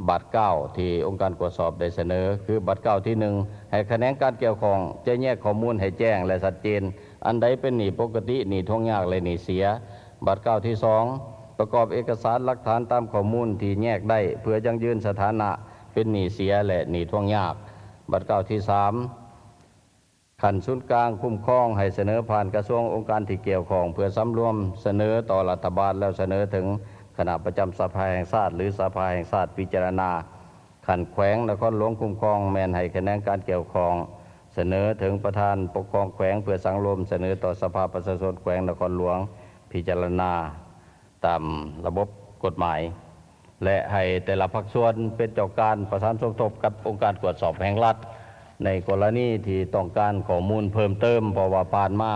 ບາດກ້າວທີ່ອົງການກວດສອບໄດ້ສະເໜີ ຄື ບາດກ້າວທີໜຶ່ງ ໃຫ້ຂະແໜງການກ່ຽວຂ້ອງຈະແຍກຂໍ້ມູນໃຫ້ແຈ້ງ ແລະ ຊັດເຈນ ອັນໃດເປັນໜີ້ປົກກະຕິ, ໜີ້ທວງຍາກ ແລະ ໜີ້ເສຍ. ບາດກ້າວທີສອງ ປະກອບເອກະສານຫຼັກຖານຕາມຂໍ້ມູນທີ່ແຍກໄດ້ ເພື່ອຢັ້ງຢືນສະຖານະເປັນໜີ້ເສຍ ແລະ ໜີ້ທວງຍາກ. ບາດກ້າວທີສາມ ຂັ້ນສູນກາງຄຸ້ມຄອງໃຫ້ສະເໜີຜ່ານກະຊວງ, ອົງການທີ່ກ່ຽວຂ້ອງ ເພື່ອສຳລວມສະເໜີຕໍ່ລັດຖະບານ ແລ້ວສະເໜີເຖິງຄະນະປະຈຳສະພາແຫ່ງຊາດ ຫຼື ສະພາແຫ່ງຊາດພິຈາລະນາ. ຂັ້ນແຂວງ, ນະຄອນຫຼວງຄຸ້ມຄອງ ແມ່ນໃຫ້ຂະແໜງການກ່ຽວຂ້ອງສະເໜີເຖິງປະທານປົກຄອງແຂວງ ເພື່ອສັງລວມສະເໜີຕໍ່ສະພາປະຊາຊົນແຂວງນະຄອນຫຼວງພິຈາລະນາ. ຕາມລະບົບກົດໝາຍ ແລະ ໃຫ້ແຕ່ລະພາກສ່ວນເປັນເຈົ້າການປະສານສົມທົບກັບອົງການກວດສອບແຫ່ງລັດ ໃນກໍລະນີທີ່ຕ້ອງການຂໍ້ມູນເພີ່ມເຕີມ, ເພາະວ່າຜ່ານມາ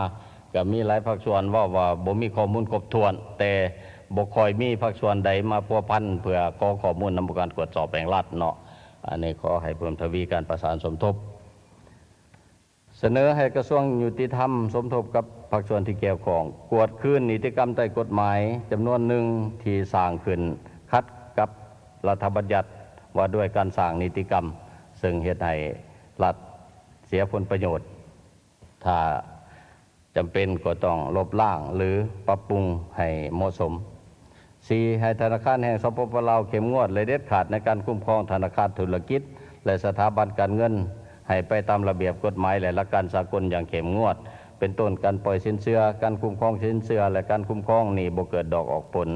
ກໍມີຫຼາຍພາກສ່ວນເວົ້າວ່າບໍ່ມີຂໍ້ມູນຄົບຖ້ວນ, ແຕ່ບໍ່ຄ່ອຍມີພາກສ່ວນໃດມາພົວພັນເພື່ອຂໍຂໍ້ມູນນຳອົງການກວດສອບແຫ່ງລັດເນາະ. ອັນນີ້ຂໍໃຫ້ເພີ່ມທະວີການປະສານສົມທົບ. ສະເໜີໃຫ້ກະຊວງຍຸຕິທຳສົມທົບກັບພາກສ່ວນທີ່ກ່ຽວຂ້ອງ ກວດຄືນນິຕິກຳໃຕ້ກົດໝາຍຈຳນວນໜຶ່ງທີ່ສ້າງຂຶ້ນຂັດກັບລັດຖະບັນຍັດວ່າດ້ວຍການສ້າງນິຕິກຳ, ເຊິ່ງເຮັດໃຫ້ລັດເສຍຜົນປະໂຫຍດ. ຖ້າຈຳເປັນກໍຕ້ອງລົບລ້າງ ຫຼື ປັບປຸງໃຫ້ເໝາະສົມ. ສີ່, ໃຫ້ທະນາຄານແຫ່ງ ສປປ ລາວ ເຂັ້ມງວດ ແລະ ເດັດຂາດໃນການຄຸ້ມຄອງທະນາຄານທຸລະກິດ ແລະ ສະຖາບັນການເງິນ ໃຫ້ໄປຕາມລະບຽບກົດໝາຍ ແລະ ຫຼັກການສາກົນຢ່າງເຂັ້ມງວດ, ເປັນຕົ້ນ ການປ່ອຍສິນເຊື່ອ, ການຄຸ້ມຄອງສິນເຊື່ອ ແລະ ການຄຸ້ມຄອງໜີ້ບໍ່ເກີດດອກອອກຜົນ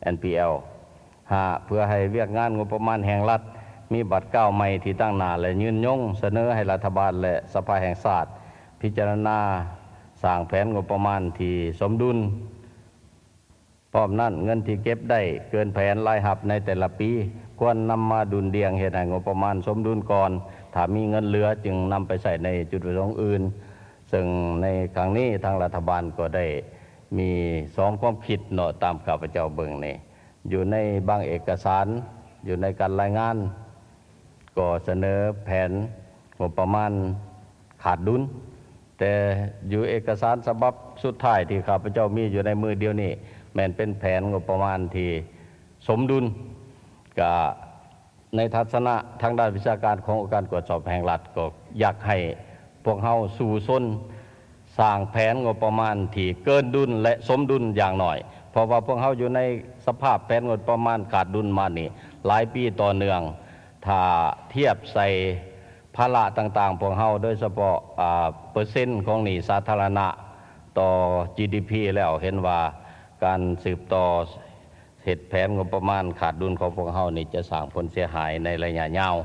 ເອັນ ພີ ແອລ. ຫ້າ, ເພື່ອໃຫ້ວຽກງານງົບປະມານແຫ່ງລັດມີບາດກ້າວໃໝ່ທີ່ຕັ້ງໜ້າ ແລະ ຍືນຍົງ, ສະເໜີໃຫ້ລັດຖະບານ ແລະ ສະພາແຫ່ງຊາດ ພິຈາລະນາສ້າງແຜນງົບປະມານທີ່ສົມດຸນ. ພ້ອມນັ້ນ, ເງິນທີ່ເກັບໄດ້ເກີນແຜນລາຍຮັບໃນແຕ່ລະປີ ຄວນນຳມາດຸ່ນດ່ຽງເຮັດໃຫ້ງົບປະມານສົມດຸນກ່ອນ, ຖ້າມີເງິນເຫຼືອຈຶ່ງນຳໄປໃຊ້ໃນຈຸດປະສົງອື່ນ. ເຊິ່ງໃນຄັ້ງນີ້ທາງລັດຖະບານກໍໄດ້ມີສອງຄວາມຄິດເນາະ, ຕາມຂ້າພະເຈົ້າເບິ່ງນີ້ ຢູ່ໃນບາງເອກະສານ, ຢູ່ໃນການລາຍງານ ກໍສະເໜີແຜນງົບປະມານຂາດດຸນ, ແຕ່ຢູ່ເອກະສານສະບັບສຸດທ້າຍທີ່ຂ້າພະເຈົ້າມີຢູ່ໃນມືດຽວນີ້ ແມ່ນເປັນແຜນງົບປະມານທີ່ສົມດຸນ. ກະໃນທັດສະນະທາງດ້ານວິຊາການຂອງອົງການກວດສອບແຫ່ງລັດ ກໍຢາກໃຫ້ພວກເຮົາສູ້ຊົນ ສ້າງແຜນງົບປະມານທີ່ເກີນດຸນ ແລະ ສົມດຸນຢ່າງໜ້ອຍ, ເພາະວ່າພວກເຮົາຢູ່ໃນສະພາບແຜນງົບປະມານຂາດດຸນມານີ້ຫຼາຍປີຕໍ່ເນື່ອງ. ຖ້າທຽບໃສ່ພາລະຕ່າງໆ ພວກເຮົາ ໂດຍສະເພາະ ອາ ເປີເຊັນຂອງໜີ້ສາທາລະນະຕໍ່ ຈີ ດີ ພີ ແລ້ວ ເຫັນວ່າການສືບຕໍ່ເຮັດແຜນງົບປະມານຂາດດຸນຂອງພວກເຮົານີ້ ຈະສ້າງຜົນເສຍຫາຍໃນໄລຍະຍາວ.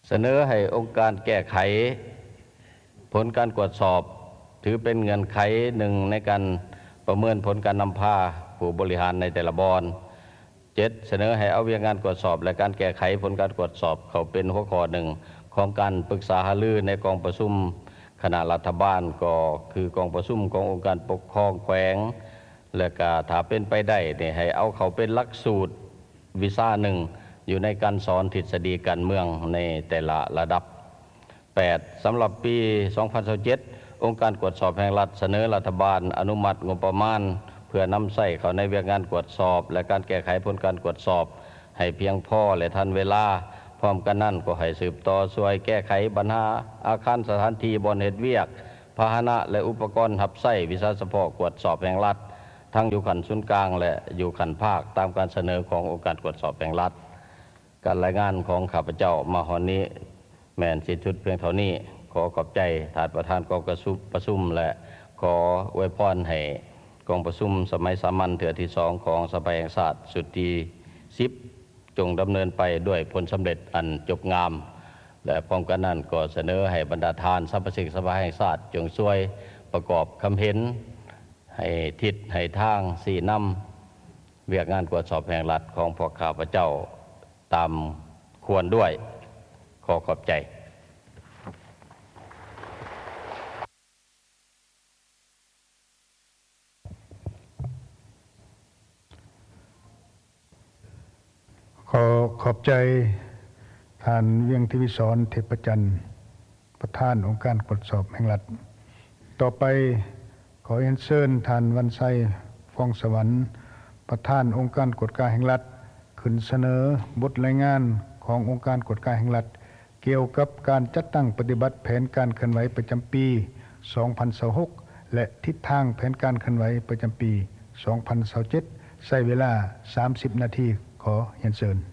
ສະເໜີໃຫ້ອົງການແກ້ໄຂຜົນການກວດສອບ ຖືເປັນເງື່ອນໄຂໜຶ່ງໃນການປະເມີນຜົນການນຳພາຜູ້ບໍລິຫານໃນແຕ່ລະບ່ອນ. ເຈັດ, ສະເໜີໃຫ້ເອົາວຽກງານກວດສອບ ແລະ ການແກ້ໄຂຜົນການກວດສອບເຂົ້າເປັນຫົວຂໍ້ໜຶ່ງຂອງການປຶກສາຫາລືໃນກອງປະຊຸມຄະນະລັດຖະບານ, ກໍຄືກອງປະຊຸມຂອງອົງການປົກຄອງແຂວງ, ແລະ ກະຖ້າເປັນໄປໄດ້ນີ້ ໃຫ້ເອົາເຂົ້າເປັນຫຼັກສູດ ວິຊາໜຶ່ງຢູ່ໃນການສອນທິດສະດີການເມືອງໃນແຕ່ລະລະດັບ. ແປດ, ສຳລັບປີສອງພັນຊາວເຈັດ ອົງການກວດສອບແຫ່ງລັດສະເໜີລັດຖະບານອະນຸມັດງົບປະມານ ເພື່ອນຳໃຊ້ເຂົ້າໃນວຽກງານກວດສອບ ແລະ ການແກ້ໄຂຜົນການກວດສອບໃຫ້ພຽງພໍ ແລະ ທັນເວລາ, ເ ພ້ອມກັນນັ້ນກໍໃຫ້ສືບຕໍ່ຊ່ວຍແກ້ໄຂບັນຫາອາຄານສະຖານທີ່ບ່ອນເຮັດວຽກ, ພາຫະນະ ແລະ ອຸປະກອນຮັບໃຊ້ວິຊາສະເພາະກວດສອບແຫ່ງລັດ, ທັງຢູ່ຂັ້ນສູນກາງ ແລະ ຢູ່ຂັ້ນພາກ ຕາມການສະເໜີຂອງອົງການກວດສອບແຫ່ງລັດ. ການລາຍງານຂອງຂ້າພະເຈົ້າມາຮອດນີ້ແມ່ນສິ້ນສຸດພຽງເທົ່ານີ້. ຂໍຂອບໃຈທ່ານປະທານກອງປະຊຸມ ປະຊຸມ ແລະ ຂໍອວຍພອນໃຫ້ກອງປະຊຸມສະໄໝສາມັນເທື່ອທີສອງຂອງສະພາແຫ່ງຊາດຊຸດທີສິບ ຈົ່ງດຳເນີນໄປດ້ວຍຜົນສຳເລັດອັນຈົບງາມ ແລະ ພ້ອມກັນນັ້ນກໍສະເໜີໃຫ້ບັນດາທ່ານສະມາຊິກສະພາແຫ່ງຊາດ ຈົ່ງຊ່ວຍປະກອບຄຳເຫັນ ໃຫ້ທິດໃຫ້ທາງຊີ້ນຳວຽກງານກວດສອບແຫ່ງລັດຂອງພວກຂ້າພະເຈົ້າຕາມຄວນດ້ວຍ. ຂໍຂອບໃຈ. ຂໍຂອບໃຈທ່ານ ວຽງທິວິສອນ ເທບພະຈັນ, ປະທານອົງການກວດສອບແຫ່ງລັດ. ຕໍ່ໄປ ຂໍຮຽນເຊີນທ່ານ ວັນໄຊ ຟອງສະຫວັນ, ປະທານອົງການກວດກາແຫ່ງລັດ, ຂຶ້ນສະເໜີບົດລາຍງານຂອງອົງການກວດກາແຫ່ງລັດ ກ່ຽວກັບການຈັດຕັ້ງປະຕິບັດແຜນການເຄື່ອນໄຫວປະຈຳປີສອງພັນຊາວຫົກ ແລະ ທິດທາງແຜນການເຄື່ອນໄຫວປະຈຳປີສອງພັນຊາວເຈັດ ໃຊ້ເວລາສາມສິບນາທີ. ຂໍຮຽນເຊີນ.